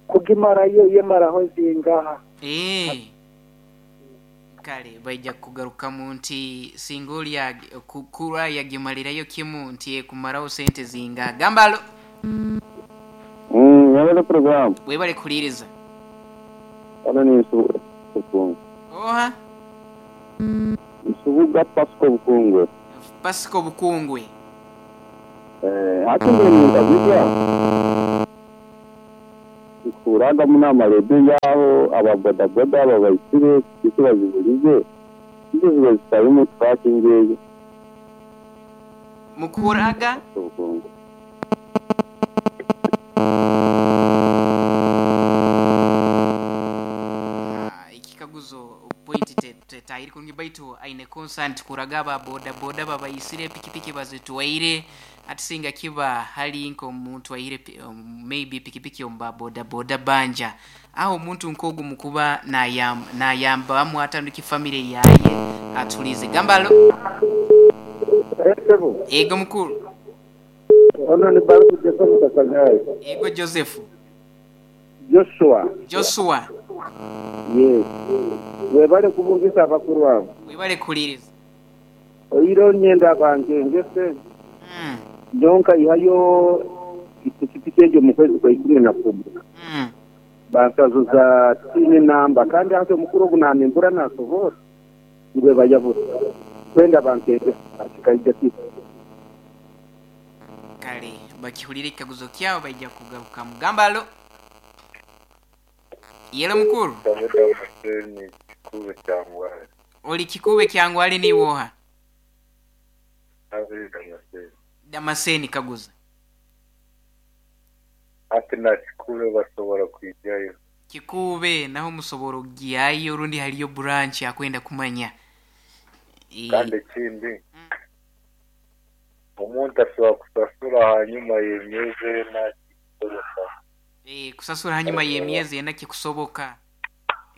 kugimarayo yemaraho zinga. Kale baija kugarukamu nti singoli ya kukura yagimalirayo kimu nti kumaraho sente zinga. Gambalo. Yabale program. Webale kuliriza. Ana ni Bukungu. Oha. Nsubuga Pasco Bukungwe. Pasco Bukungwe. Hati mbere ndabijya. Kuranga munama rebe yaho ababodaboda babayisire kibazibulize. Izo zitari mu tracking. Mukuraga Obukungu. Ah, ekikaguzo point tetahiri kurungi baitu aine constant kuraga aba boda boda babayisire pikipiki bazitwaire atisinga kiba hali nk'omuntu aire maybe pikipiki omu boda boda banja aho omuntu nk'ogu mukuba nayambamu atandika family yaye atulize gambalo. Ego mukuru. Ono ni Baruku Joseph Kasangayi. Ego Joseph. Joshua. Joshua. Yes. Webale kubungisa abakuru abo. Webale kuliriza. Oiro nyenda bange ngese. Jonka ihayo ipikipiki egyo mu kwezi kwa 11. Bansazuza tini namba kandi ate omukuru ogu nanimbura nasobora ngwe bayabura. Kwenda bankenge akikaija kitu. Kale bakihulire ekikaguzo kyabo baija kugaruka mugambalo. Yelo mukuru. Oli kikube kyangwali ni woha. Damaseni kaguza. Ati na kikube basobora kwijayo. Kikube naho musobora kugiyayo orundi haliyo branch akwenda kumanya. Kandi kindi omuntu asobora kusasura hanyuma y'emyezi ena kikusoboka. Kusasura hanyuma y'emyezi ena kikusoboka.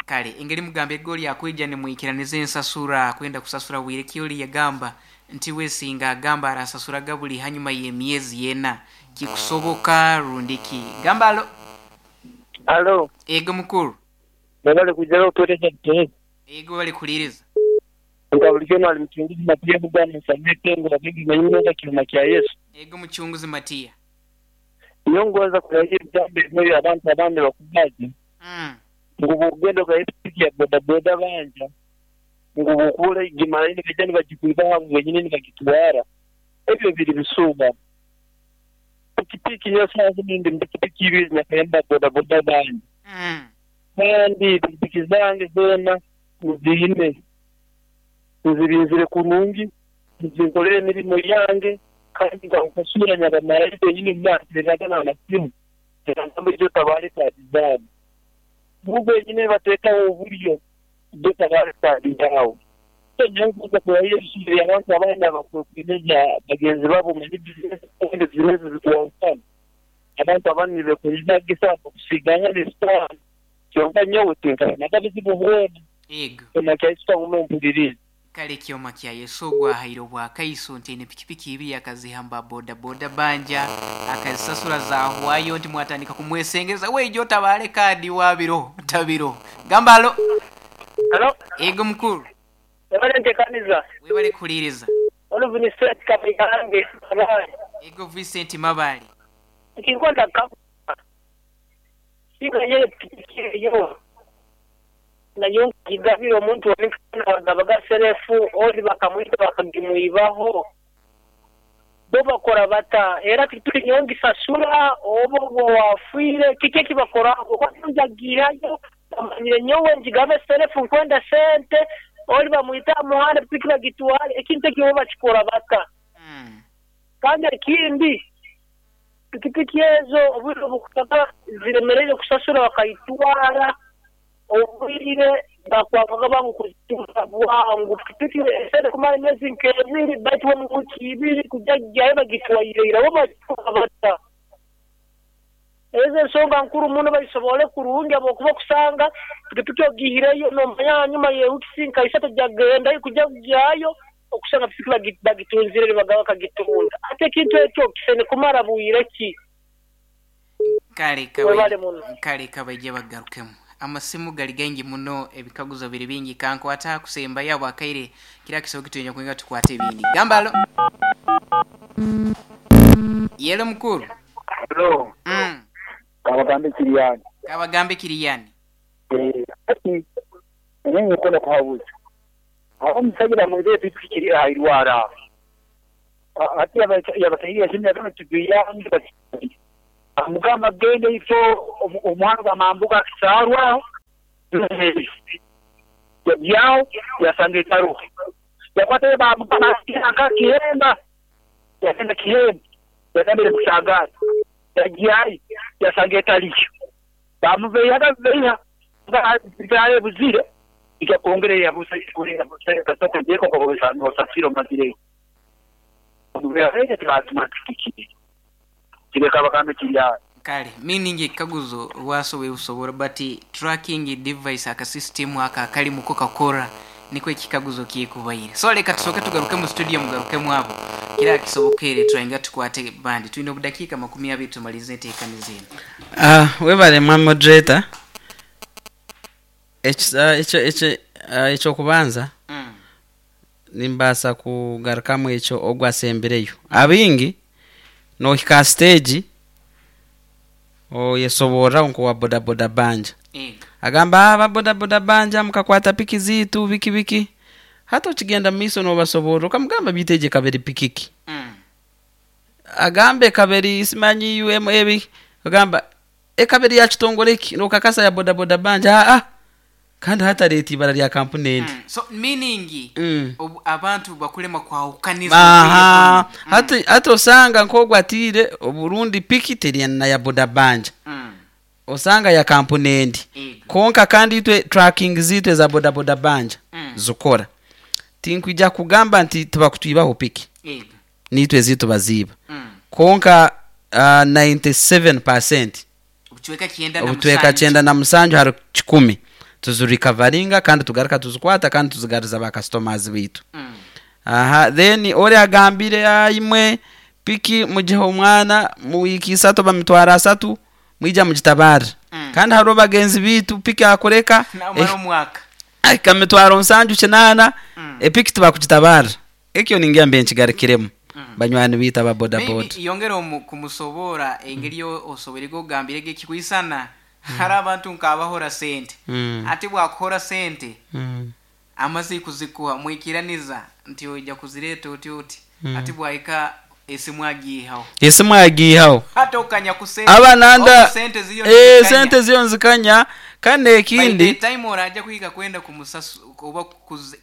Kale engeri mugambe goli akwija nimwikiraniza ensasura kwenda kusasura bwire kyoli yagamba nti wesinga agamba arasasura gabuli hanyuma y'emyezi ena kikusoboka rundiki. Gambalo. Alo. Ego mukuru. Babale kujalo tuwetesha kitowezi. Ego bali kuliriza. Nkabulikeno alimchunguzi Matia bugana nsamete ngo babigi manyinga kilima kya Yesu. Ego mchunguzi Matia. Nyongoza kurahira jambo moyo abantu abandi bakubazi. Ngubu ugendo kwa ipiki ya boda boda banja. Ngubu kule gimarayini vijana bajikuiba wenyine nikakitwara. Ebyo biri bisuba. Pikipiki yose nindi pikipiki ibiri nyakayamba boda boda banja. Kandi pikipiki zange zona nzihine. Nzirinzire kurungi, nzinkolere emirimo yange kandi nkakasura nyabamarayini wenyine mwanziraga n'amasimu. Ngambo ibyo tabare tadizamu. Mungu wenyine batekaho uburyo ibyo tabare tadizamu. Nyanguza kurahira ibisubizo abantu abana bakwemeza bagenzi babo muri business kandi business zikuwafana. Abantu abandi bekurira gisa kusiganya n'isitani. Kyonka nyowe tinkana nakabizibu bwona. Ego. Tunakaiswa unompuliriza. Kale kyoma kya Yesu gwahaire obwakaiso nti ene pikipiki ibiri akazihamba boda boda banja akazisasura zahwayo nti mwatandika kumwesengeza weijo tabale kadi wabiro tabiro. Gambalo. Hello. Ego mukuru. Webale ntekaniza. Webale kuliriza. Ono Vincent Kabihange Mabale. Ego Vincent Mabale. Nkikwenda ka Singa yeye pikipiki yo. Nayo kigabiro omuntu onikana bagabaga serefu oli bakamwita bakagimuibaho bo bakora bata era tuli nyongi sasura obo bo wafire kike kibakora ko njagirayo amanyire nyowe njigabe serefu nkwenda sente oli bamwita muhanda pikira gitwale ekintu kibo bakikora bata. Kandi ekindi pikipiki ezo obwire bukutaka ziremereye kusasura bakayitwara obwire bakwavuga bangu bwangu pikipiki esere kumara emyezi nk'ebiri baitu mu wiki ibiri kujya bagitwaire bo bakibata. Ezo ensonga nkuru muno bayisobole kurungi abokuba kusanga pikipiki ogihireyo nomanya nyuma ye wiki nka isatu jagenda kujya kujyayo okusanga pikipiki bagitunzire bagaba kagitunda ate ekintu ekyo kisene kumara bwire ki. Kale kale kabaije bagarukemu. Amasimu gali gengi muno ebikaguzo biri bingi kankwata kusemba yabo akaire kila kisobo kitunya kuinga tukwate ebindi. Gambalo. Yelo mukuru. Hello. Kabagambe kiriyani. Kabagambe kiriyani. Ati nenye kola kuhabuza. Aho musagira mweze pikipiki ayirwara. Ati yabatahiriye sinne kama tubiyange bati. Mugamba gende ifo omwana bamambuka kisarwa yao yasange taruhi yakwate bamugamba akihemba Yagenda Kihembe, yagamba eri Busagaati. Yagyayo, yasanga etaliyo. Baamubeihaga beiha, nga ebuzire, ija kwongera eyabuza nosasira omazireyo. Kireka bagambe kiri aho. Kale, meaning ekikaguzo lwaso webusobora but tracking device aka system aka akalimu ko kakora nikwo ekikaguzo kyekubaire. So leka tusooke tugaruke mu studio mugarukemu abo kira kisobokere turainga tukwate bandi tulina obudakiika 20 tumalize enteekaniza eno. Ah, webale mwa moderator. Ekisa ekyo ekyo ah, ekyokubanza nimbaasa kugarukamu ekyo ogu asembireyo. Abaingi nohika aha stage oyesoborraho nk'owa bodaboda banja. Agamba ah, aba bodaboda banja mukakwata piki ziitu biki biki. Hati okigenda mu maiso nobasoborra okamugamba baitu egi ekaba eri piki ki? Agamba ekaba eri simanyi UMA biki. Ogamba ekaba eri ya kitongore ki? Nokakasa ya bodaboda banja aa kandi hati areeta ibara lya kampuni endi. So meaning obu abantu bakulema kwahukaniza obwire Aha, bunu. hati hati osanga nk'ogu atiire oburundi piki teri na ya boda banja. Osanga ya kampuni endi. Kwonka kandi itwe tracking ziitu eza bodaboda banja zikora. Tinkwija kugamba nti tibakutwibaho piki. Niitwe eziitu baziiba. Kwonka 97% Obucweka kyenda na obucweka musanju. 97 ahari kikumi tuzirikavaringa kandi tugaruka tuzikwata kandi tuzigariza ba customers baitu. Aha, then ori agambire ah, imwe piki mugihe omwana mu wiiki isatu oba mitwaro asatu mwija mugitabarre. Kandi hariho bagenzi baitu piki akureka Namara omwaka. ahika mitwaro 7 8 epiki tibakugitabarra. Ekyo ningira mbe nkigarukiremu banywani baitu aba bodaboda. Maybe yongera omu kumusoboora engeri osoboire ogambire ge kikwisana hari abantu nk'abahora sente. Ati bwakuhora sente amaze kuzikuha mwikiraniza nti oija kuzireeta oti oti. Ati bwahika esimu agiihaho. Esimu agiihaho. Hati okanya ku sente. Aba nanda Oku sente ziriyo eh, nizikanya. sente ziyo nzikanya kandi By the ekindi time oraja kuhika kwenda kumusasu oba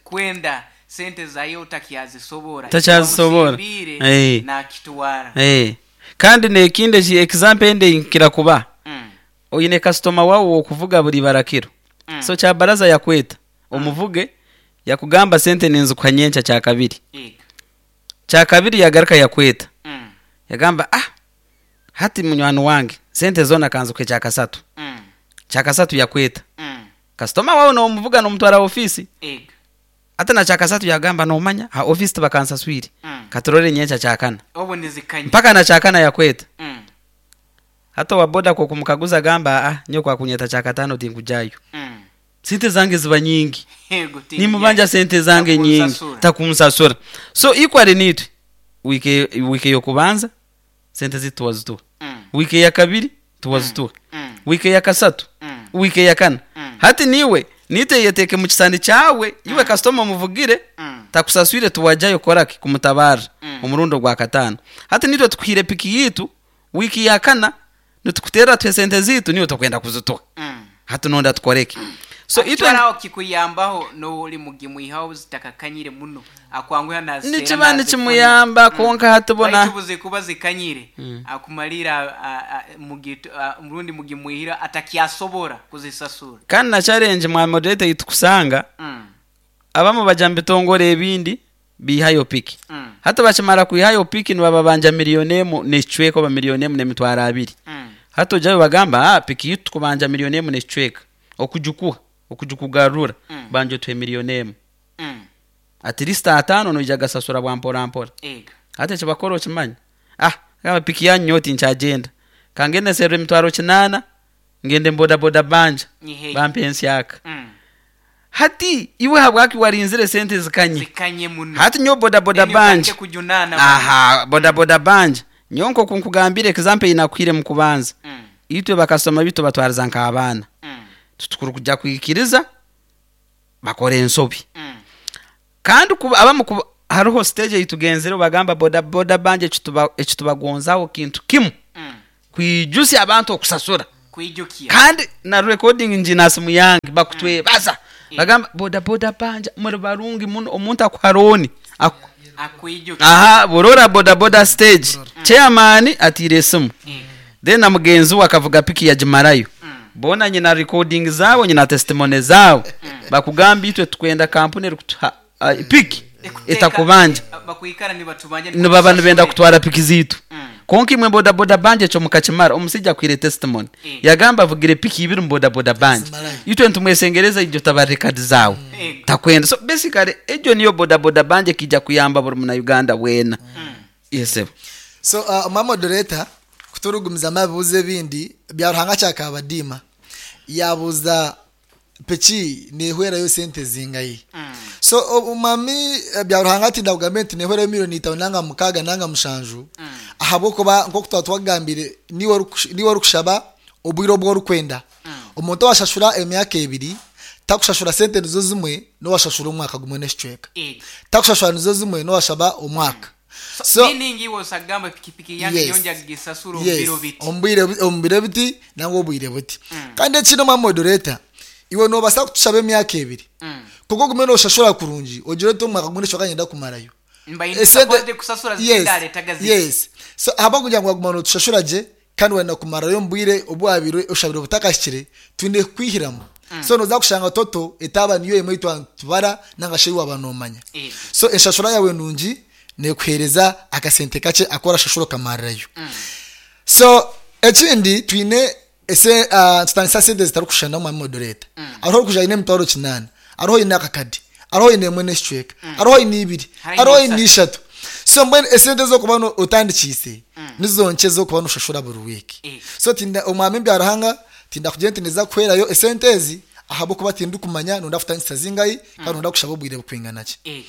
kwenda sente zayo otakyazisobora. Takyazisobora. Wamusimbiire nakitwara. Kandi n'ekindi eki example endi nkira kuba. Oine customer wawe wokuvuga buri barakiro. So kyabaraza yakweta omuvuge yakugamba sente ninzikuha nyenkya kyakabiri. Kyakabiri yagaruka yakweta. Yagamba ah hati munywani wange sente zona kanzikuhe kyakasatu. Kyakasatu yakweta. Customer wawe nomuvuga nomutwara ofisi. Ate na kyakasatu yagamba nomanya ha ofisi tibakansaswire. Katurore nyenkya kyakana. Obu nizikanya. Mpaka na kyakana yakweta. Hata wa boda kwa kumukaguza gamba ah nyo kwa kunyeta kyakatano tinkujayo. Sente zange ziba nyingi. Yego, Nimubanja sente zange nyingi Takunsasura. takunsasura. So equally nitwe wike yokubanza sente zitu tuwazituha. Wike ya kabiri tuwazituha. Wike ya kasatu. Wike ya kana. Hati niwe nite yeteke mu kisani kyawe iwe customer muvugire takusaswire tuwajayo koraki kumutabara omurundo gwa katano. Hati nitwe tukuhire piki yitu wiki ya kana nitukutera twe sente zitu niwe tukwenda kuzituha. Hati nonda tukoreke. So Ati itwe twaraho kikuyambaho n'oli mugimuihaho zitakakanyire muno akwanguha nazitera nikiba nazifuna. nikimuyamba konka hati bona Baitu buze kuba zikanyire akumalira murundi mugimuihira atakyasobora kuzisasura. Kandi na challenge mwa moderator itukusanga abamu baja mu bitongore ebindi bihayo piki. Hata bakimara kwihayo piki nibababanja miliyoni emu n'ekicweka oba miliyoni emu n'emitwaro abiri. Hata ojayo bagamba ah piki yitu tukubanja miliyoni emu n'ekicweka okugikuha okugikugarura banja otuhe miliyoni emu. At least atano noija gasasura bwa mpora mpora. Hata ekibakora okimanya ah gamba piki yanyu nyowe tinkyagenda kangende nserre emitwaro 8 ngende bodaboda banja Nyihei. bampe ensyaka. Hati iwe habwaki warinzire sente zikanye? Zikanye muno. Hati nyowe bodaboda Then utandike banja. kujunana Aha, bodaboda banja. Nyowe nko nkugambire example inakwire mu kubanza. Itwe bakasoma bitu batwariza nk'abaana. Tutukuru kujya kwikiriza bakora ensobi. Kandi kuba abamu kuba hariho stage eyitugenzere bagamba boda boda banje ekitubagonzaho kintu kimu. Kwijusya abantu okusasura. Kwijukia. Kandi na recording njina simu yange bakutwebaza. Bagamba boda boda banja muri barungi muno omuntu akuharoni. Aha, Burora bodaboda stage chairman atiire esimu, then na mugenzi we akavuga piki yagimarayo. Bona nyina recording zabo, nyina testimony zabo, bakugamba itwe tukwenda kampuni erikutuha piki etakubanja. Bakwikara nibatubanja. Nibaba nibenda kutwara piki zitu. Konka imwe bodaboda banje ekyo mukakimara. Omusijja akwire testimony, yagamba avugire piki ibiri mu bodaboda banje. Itwe nitumwesengereza ijo taba record zawe takwenda. So basically ejo niyo bodaboda banje kijja kuyamba buri muna Uganda wena. Yes. So omwa moderator, kuturugumiza amabibuzo ebindi Byaruhanga kyakabadiima yabuuza piki nehwerayo sente zingayi. So omwami Byaruhanga ati ndakugambire nti nehwerayo 5 million nanga 6 nanga 7, ahabwokuba nkoku twaba twagambire, niwe orikushaba obwire obu orikwenda. Omuntu owashashura emyaka 2 takushashura sente nizo zimwe n'owashashura omwaka gumwe n'ekicweka, takushashura nizo zimwe n'owashaba omwaka. So meaning iwe osagamba pikipiki yange yonja gisasura omubiro biti. Omu biro biti nangwa obwire buti. Kandi ekindi, omwa moderator, iwe nobasa kutushaba emyaka 2, kuko ogume noshashura kurungi, ogire oti omwaka gumwe n'ekicweka nyenda kumarayo. Mba supposed kusasura zindaletaga ziti. Yes, so ahaba kugira ngu waguma notushashura gye kandi wenda kumarayo omu bwire obu wabire oshabire obutakahikire, twine kukwihiramu. So noza kushanga total etaba niyo emwe tubara nanga shi waba nomanya. So enshashura yawe nungi nekuhereza akasente kakye akora shashura okamarirayo. So ekindi, twine ese tutandisa sente zitarikushushana mu moderator. Hariho orikuja aine 800,000, hariho oine akakadi, hariho oine emwe n'ekicweka, hariho oine 2, Hariho hariho oine oine 3. So mbwenu esente zokuba otandikiise nizo nkye zokuba noshashura buri wiiki. So tinda omwami Byaruhanga, tinda kugira nti niza kuherayo esente ezi, ahabwokuba tindikumanya nonda kutandikisa zingayi kandi nonda kushaba obwire bukwingana ki.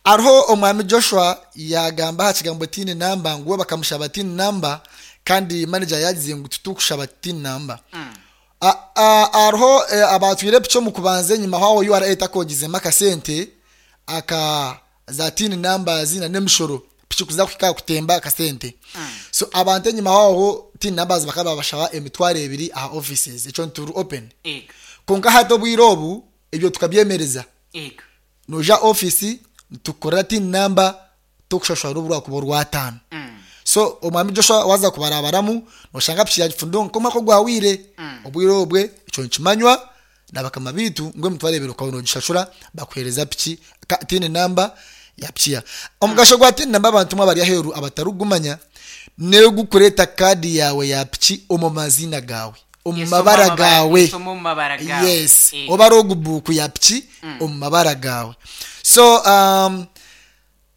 Hariho omwami Joshua yagamba aha kigambo TIN number, ngu we bakamushaba TIN number kandi manager yagize ngu titukushaba TIN number. Hariho abatwire piki omu kubanza enyima aho URA etakogizemu akasente aka za TIN numbers na n'emishoro piki kuza kuhika kutemba akasente. So abantu enyima aho TIN numbers bakaba babashaba 20,000 aha offices, ekyo nturi open. Konka hati obwire obu ebyo tukabyemereza. Noja ofisi tukorera TIN number, tokushashura n'obu rwakuba orwataano. So omwami Joshua, waza kubarabaramu noshanga piki yagifundonga nk'omwaka ogwawire. Obwire obwe ekyo nikimanywa nabakama bitu ngu 20,000 ukaba nogishashura, bakuhereza piki TIN number ya piki ya omugasho gwa TIN number. Abantu mwe abari aheru abatarugumanya, negukureta kadi yawe ya piki omu mazina gawe, omu mabara gawe. Esoma omu mabara gawe. Yes, oba logbook ya piki omu mabara gawe. So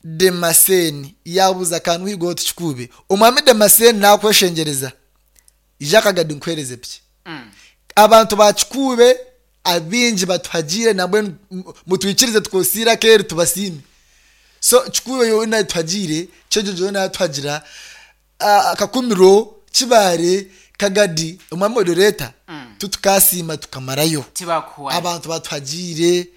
Demaseni yabuza akantu higo tukikube. Omwami Demaseni, nakweshengereza, ija Kagadi nkuhereze piki. Abantu bakikube abingi batuhagire, nabwe mutwikirize tukosira keri tubasime. So Kikube yona tuhagire, Kyejojo yona tuhagira, Kakumiro, Kibare, Kagadi, omwami moderator, tutukasima tukamarayo. Tibakuwa. Abantu batuhagire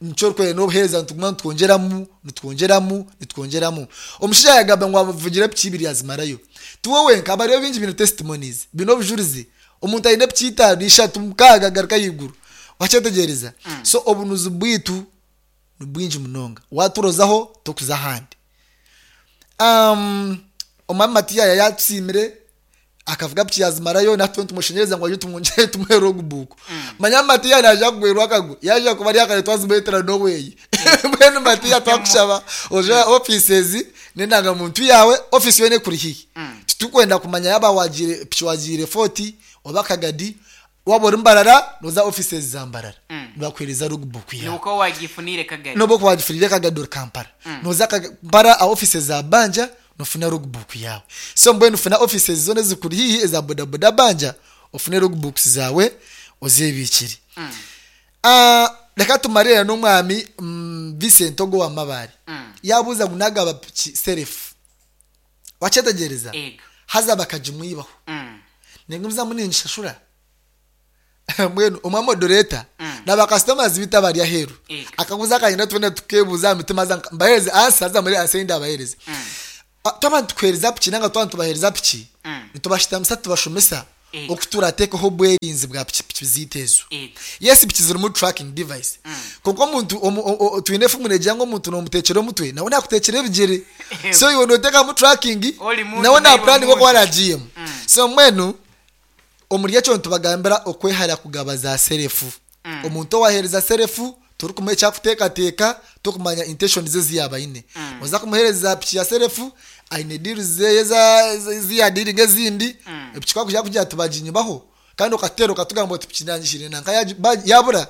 nicyo rwere n'obuhereza nituguma nitwongyeramu, nitwongyeramu, nitwongyeramu. Omushaija yagamba ngu amuvugire piki ibiri yazimarayo. Tiwe wenka, abariyo bingi bino testimonies, bino obujurizi. Omuntu aine piki 5, 3, 6, agaruka ahaiguru, wakyetegereza. So obunuzi bwitu ni bwingi munonga, waturozaho tokuza ahandi. Omwami Matiya yatusiimire akavuga piki yazimarayo, natwe nitumushenyereza ngu aje tumwongere tumuhe logbook. Manya Matiya naija kugwerwa akagwe yaija kuba ari akare twazimuretera noweyi. Mbwenu Matiya, twakushaba oje offices n'endangamuntu yawe, office yoona ekuri hihi. Titukwenda kumanya yaba wagiire piki, wagiire Fort oba Kagadi. Waba ori Mbarara, noza offices za Mbarara, nibakuhereza logbook yawe. Nuko wagifunire Kagadi. Noba wagifurire Kagadi ori Kampala, noza Kampala a offices za Banja, nofuna logbook yawe. So mbwenu funa offices zona ezikuri hihi eza bodaboda banja, ofune logbooks zawe ozebikire. Reka tumarire n'omwami Vincent ogo wa Mabare. Yabuuza ngu nagaba piki self, wakyetegereza? Ego. Haza bakagimwibaho, ningumizamu ningishashura. Mbwenu omwa moderator, n'abakasitomazi bitu abari aheru, akabuza akagenda, twena tukebuuza aha mitima, aza mbahereze answer, aza muri answer yindi abahereze. Twaba nitukuhereza piki nanga twaba nitubahereza piki, nitubashitamisa, tubashomesa. Okuturateekaho obwerinzi bwa pikipiki ziitu ezo. Yes, piki zirimu tracking device, konka omuntu twine efumu negira ngu omuntu nomutekyera omutwe nawe nakutekyera ebigyere. So iwe noteekamu tracking, Oli muntu nawe naiwe napuraninga oku muntu. aragiyemu. So mbwenu omuri ekyo nitubagambira okwehara kugaba za serefu. Omuntu owaheereza serefu torikumuha ekyakuteekateeka, torikumanya intentions ze ezi yaaba aine. Oza kumuheereza piki ya serefu, aine deals zeye ezi yaadiiringa ezindi, epiki ku akugira kugira ati baginyibaho, kandi okateera okatugamba oti piki nangihire nanka yabura,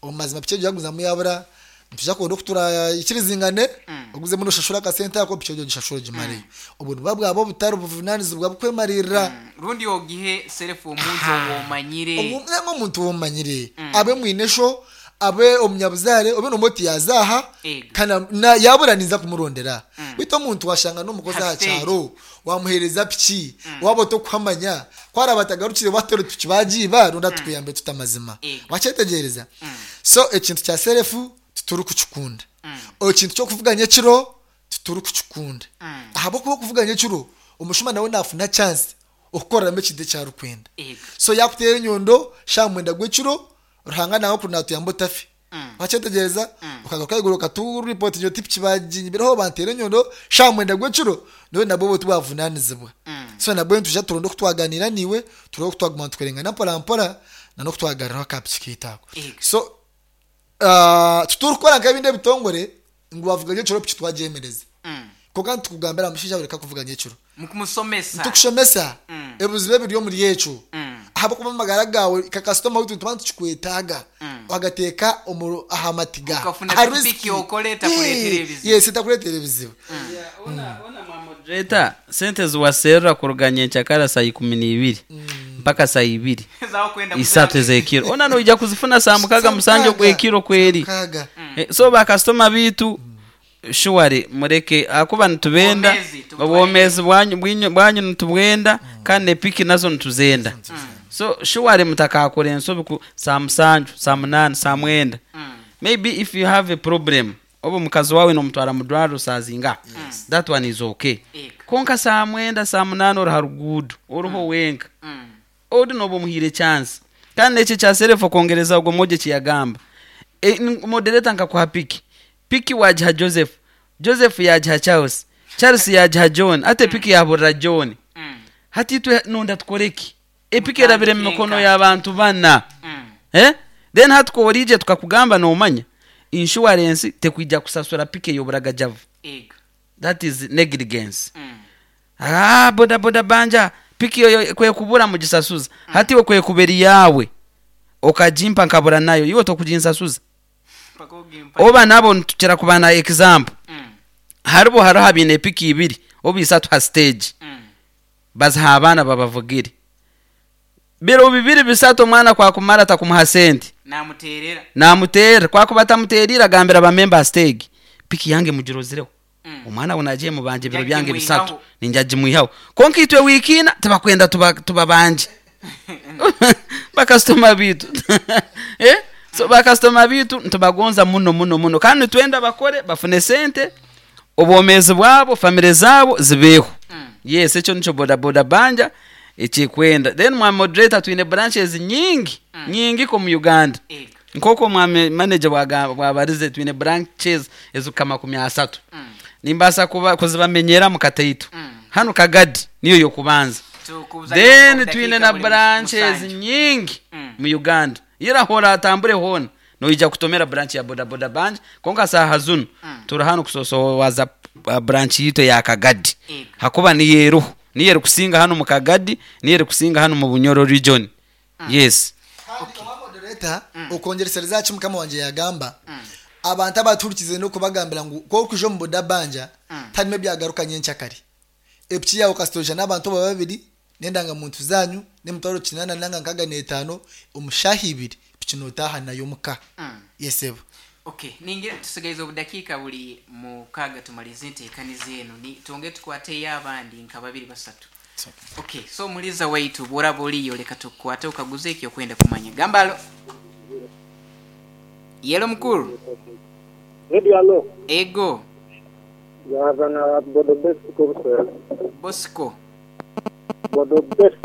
omu mazima piki egyo yagumizamu yabura, nitwija kuronda oku turaikirizingane, ogumizemu noshashura akasente ako, piki egyo ogishashure ogimareyo. Obwo nibuba bwaba obutari buvunaanizibwa bw'okwemariirira. Rundi ogihe serefu omuntu ou omanyire. Nangwa omuntu ou omanyire, abe mwine sho, abe omunyabuzaare, obe nomuha oti yaaza aha, kandi yabura ninza kumurondera. Beitu omuntu washanga n'omukozi Ha aha stage. kyaro, wamuheereza piki, waaba otokuhamanya, ku araabe atagarukire wateera oti piki baagiiba, rundi atukuyambe tuta amazima. Wakyetegyereza? So ekintu kya serefu titurikukikunda. Ekintu ky'okuvuga nyekiro titurikukikunda. Ahabw'okuba okuvuga nyekiro, omushuma nawe naafuna chance okukoreramu ekintu eki arikwenda. So yaakuteera enyondo shaaha mwenda gw'ekiro, Ruhanga nangwa kuri naatuyamba otafe. Wakyetegyereza? Okagaruka ahaiguru okaturipootingira oti piki baaginyibireho banteera enyondo shaaha mwenda gw'ekiro, nyowe nabwo obwo tibwavunaanizibwa. So nabwo nitwija turonde oku twaganiira naiwe, turebe oku twaguma nitukorengana mpora mpora n'oku twagaruraho aka piki kaitu ako. So titurikukora nk'ebindi ebitongore ngu waavuga nyekiro piki twagyemereza. Kwonka nitukugambira mushaija we reka kuvuga nyekiro. Mukumusomesa. Nitukushomesa ebizibu ebiri omuri ekyo. Ahabw'okuba amagara gaawe nka kasitoma waitu nituba nitukikwetaaga. Wagateeka omu aha matiga. Okafuna Aha pikipiki risiki. okore etakureetera ebizibu. Yes, etakureetera ebizibu. Moderator, sente eziwaserra kuruga nyenkyakara saa ikumi n'ibiri mpaka saa ibiri Ez'akwenda isatu ez'ekiro ona noija kuzifuna saa mukaga Saa musanju mukaaga. ogw'ekiro kweri. Mukaaga. So bakasitoma biitu surely mureke ahakuba nitubenda Obwomeezi tubutware. obwomeezi bwanyu nitubwenda kandi n'epiki nazo nituzenda. So surely mutakakora ensobi ku saa musanju, saa munaana, saa mwenda. Maybe if you have a problem oba omukazi waawe nomutwara mu dwariro saa zingaha, that one is okay. Kwonka saa mwenda, saa munaana ori ha ruguudo oriho wenka, ori nooba omuhaire chance. Kandi n'ekyo ekya self okwongereza ogwo mwojo eki yagamba, moderator nkakuha piki, piki waagiha Joseph, Joseph yaagiha Charles, Charles yaagiha John, hati epiki yaaburira John. Hati itwe nonda tukore ki? Epiki erabire mu mikono y'abantu bana. Then hati ku oriija tukakugamba noomanya, insurance tekwija kusasura piki ey'oburagajavu. That is negligence. Aah boda boda banja piki eyo ku ekubura mugisasuza. Hati iwe ku ekuba eri yaawe okagimpa nkabura nayo, iwe tokuginsasuza? Oba nabo nitukira kuba na example. Haribo hariho abaine epiki ibiri oba isatu ha stage. Baziha abaana babavugire. Biro bibiri bisatu omwana ku akumara atakumuha sente. Namuteerera. Namuteerera. Ku akuba atamuteeriire agambira bamemba ha stage, piki yange mugirozireho. Omwana we naija emubanja ebiro byange bisatu, ninja gimwihaho. Kwonka itwe wiiki ina tibakwenda tubabanje. Bakasitoma baitu. So bakasitoma baitu nitubagonza muno muno muno kandi nitwenda bakore bafune sente, obwomeezi bwabo, famire zaabo zibeeho. Yes, ekyo nikyo boda boda banja ekirikwenda. Then mwami moderator twine branches nyingi, nyingi omu Uganda. Nk'oku omwami manager bwabarize twine branches ezirikuhika makumi asatu. Nimbaasa kuzibamenyera mu kataito. Hanu Kagadi niyo y'okubanza. Then twine na branches nyingi mu Uganda. Ira hoora atambure hoona noija kutomera branch ya boda boda banja kwonka saaha zunu turi hanu kusosowaza branch yaitu eya Kagadi hakuba niyo eriho. Niyo erikusinga hanu mu Kagadi, niyo erikusinga hanu mu Bunyoro region. Yes. Kandi owa moderator okwongyeresereza aha ki mukama wangye yagamba, abantu abatuhurikize n'okubagambira ngu ku orikwija omu boda banja tiharimu ebyagaruka nyenkyakare. Epiki yaawe kasita oija n'abantu oba babiri n'endangamuntu zaanyu n'emitwaro kinaana nanga nkaaga n'etaano omu shaaha ibiri piki nootaaha nayo omuka. Yes sebo. Okay, ningira tusigaize obudakiika buri mukaaga tumarize enteekaniza enu. Ni twongere tukwateyo abandi nka babiri basatu. Okay, so omuhuriza waitu bw'oraba oriyo leka tukukwate okaguze eki okwenda kumanya. Gamba alo. Yelo mukuru. Radio alo. Ego. Yaza na Bodo Bosco Buswera. Bosco. Bodo Best.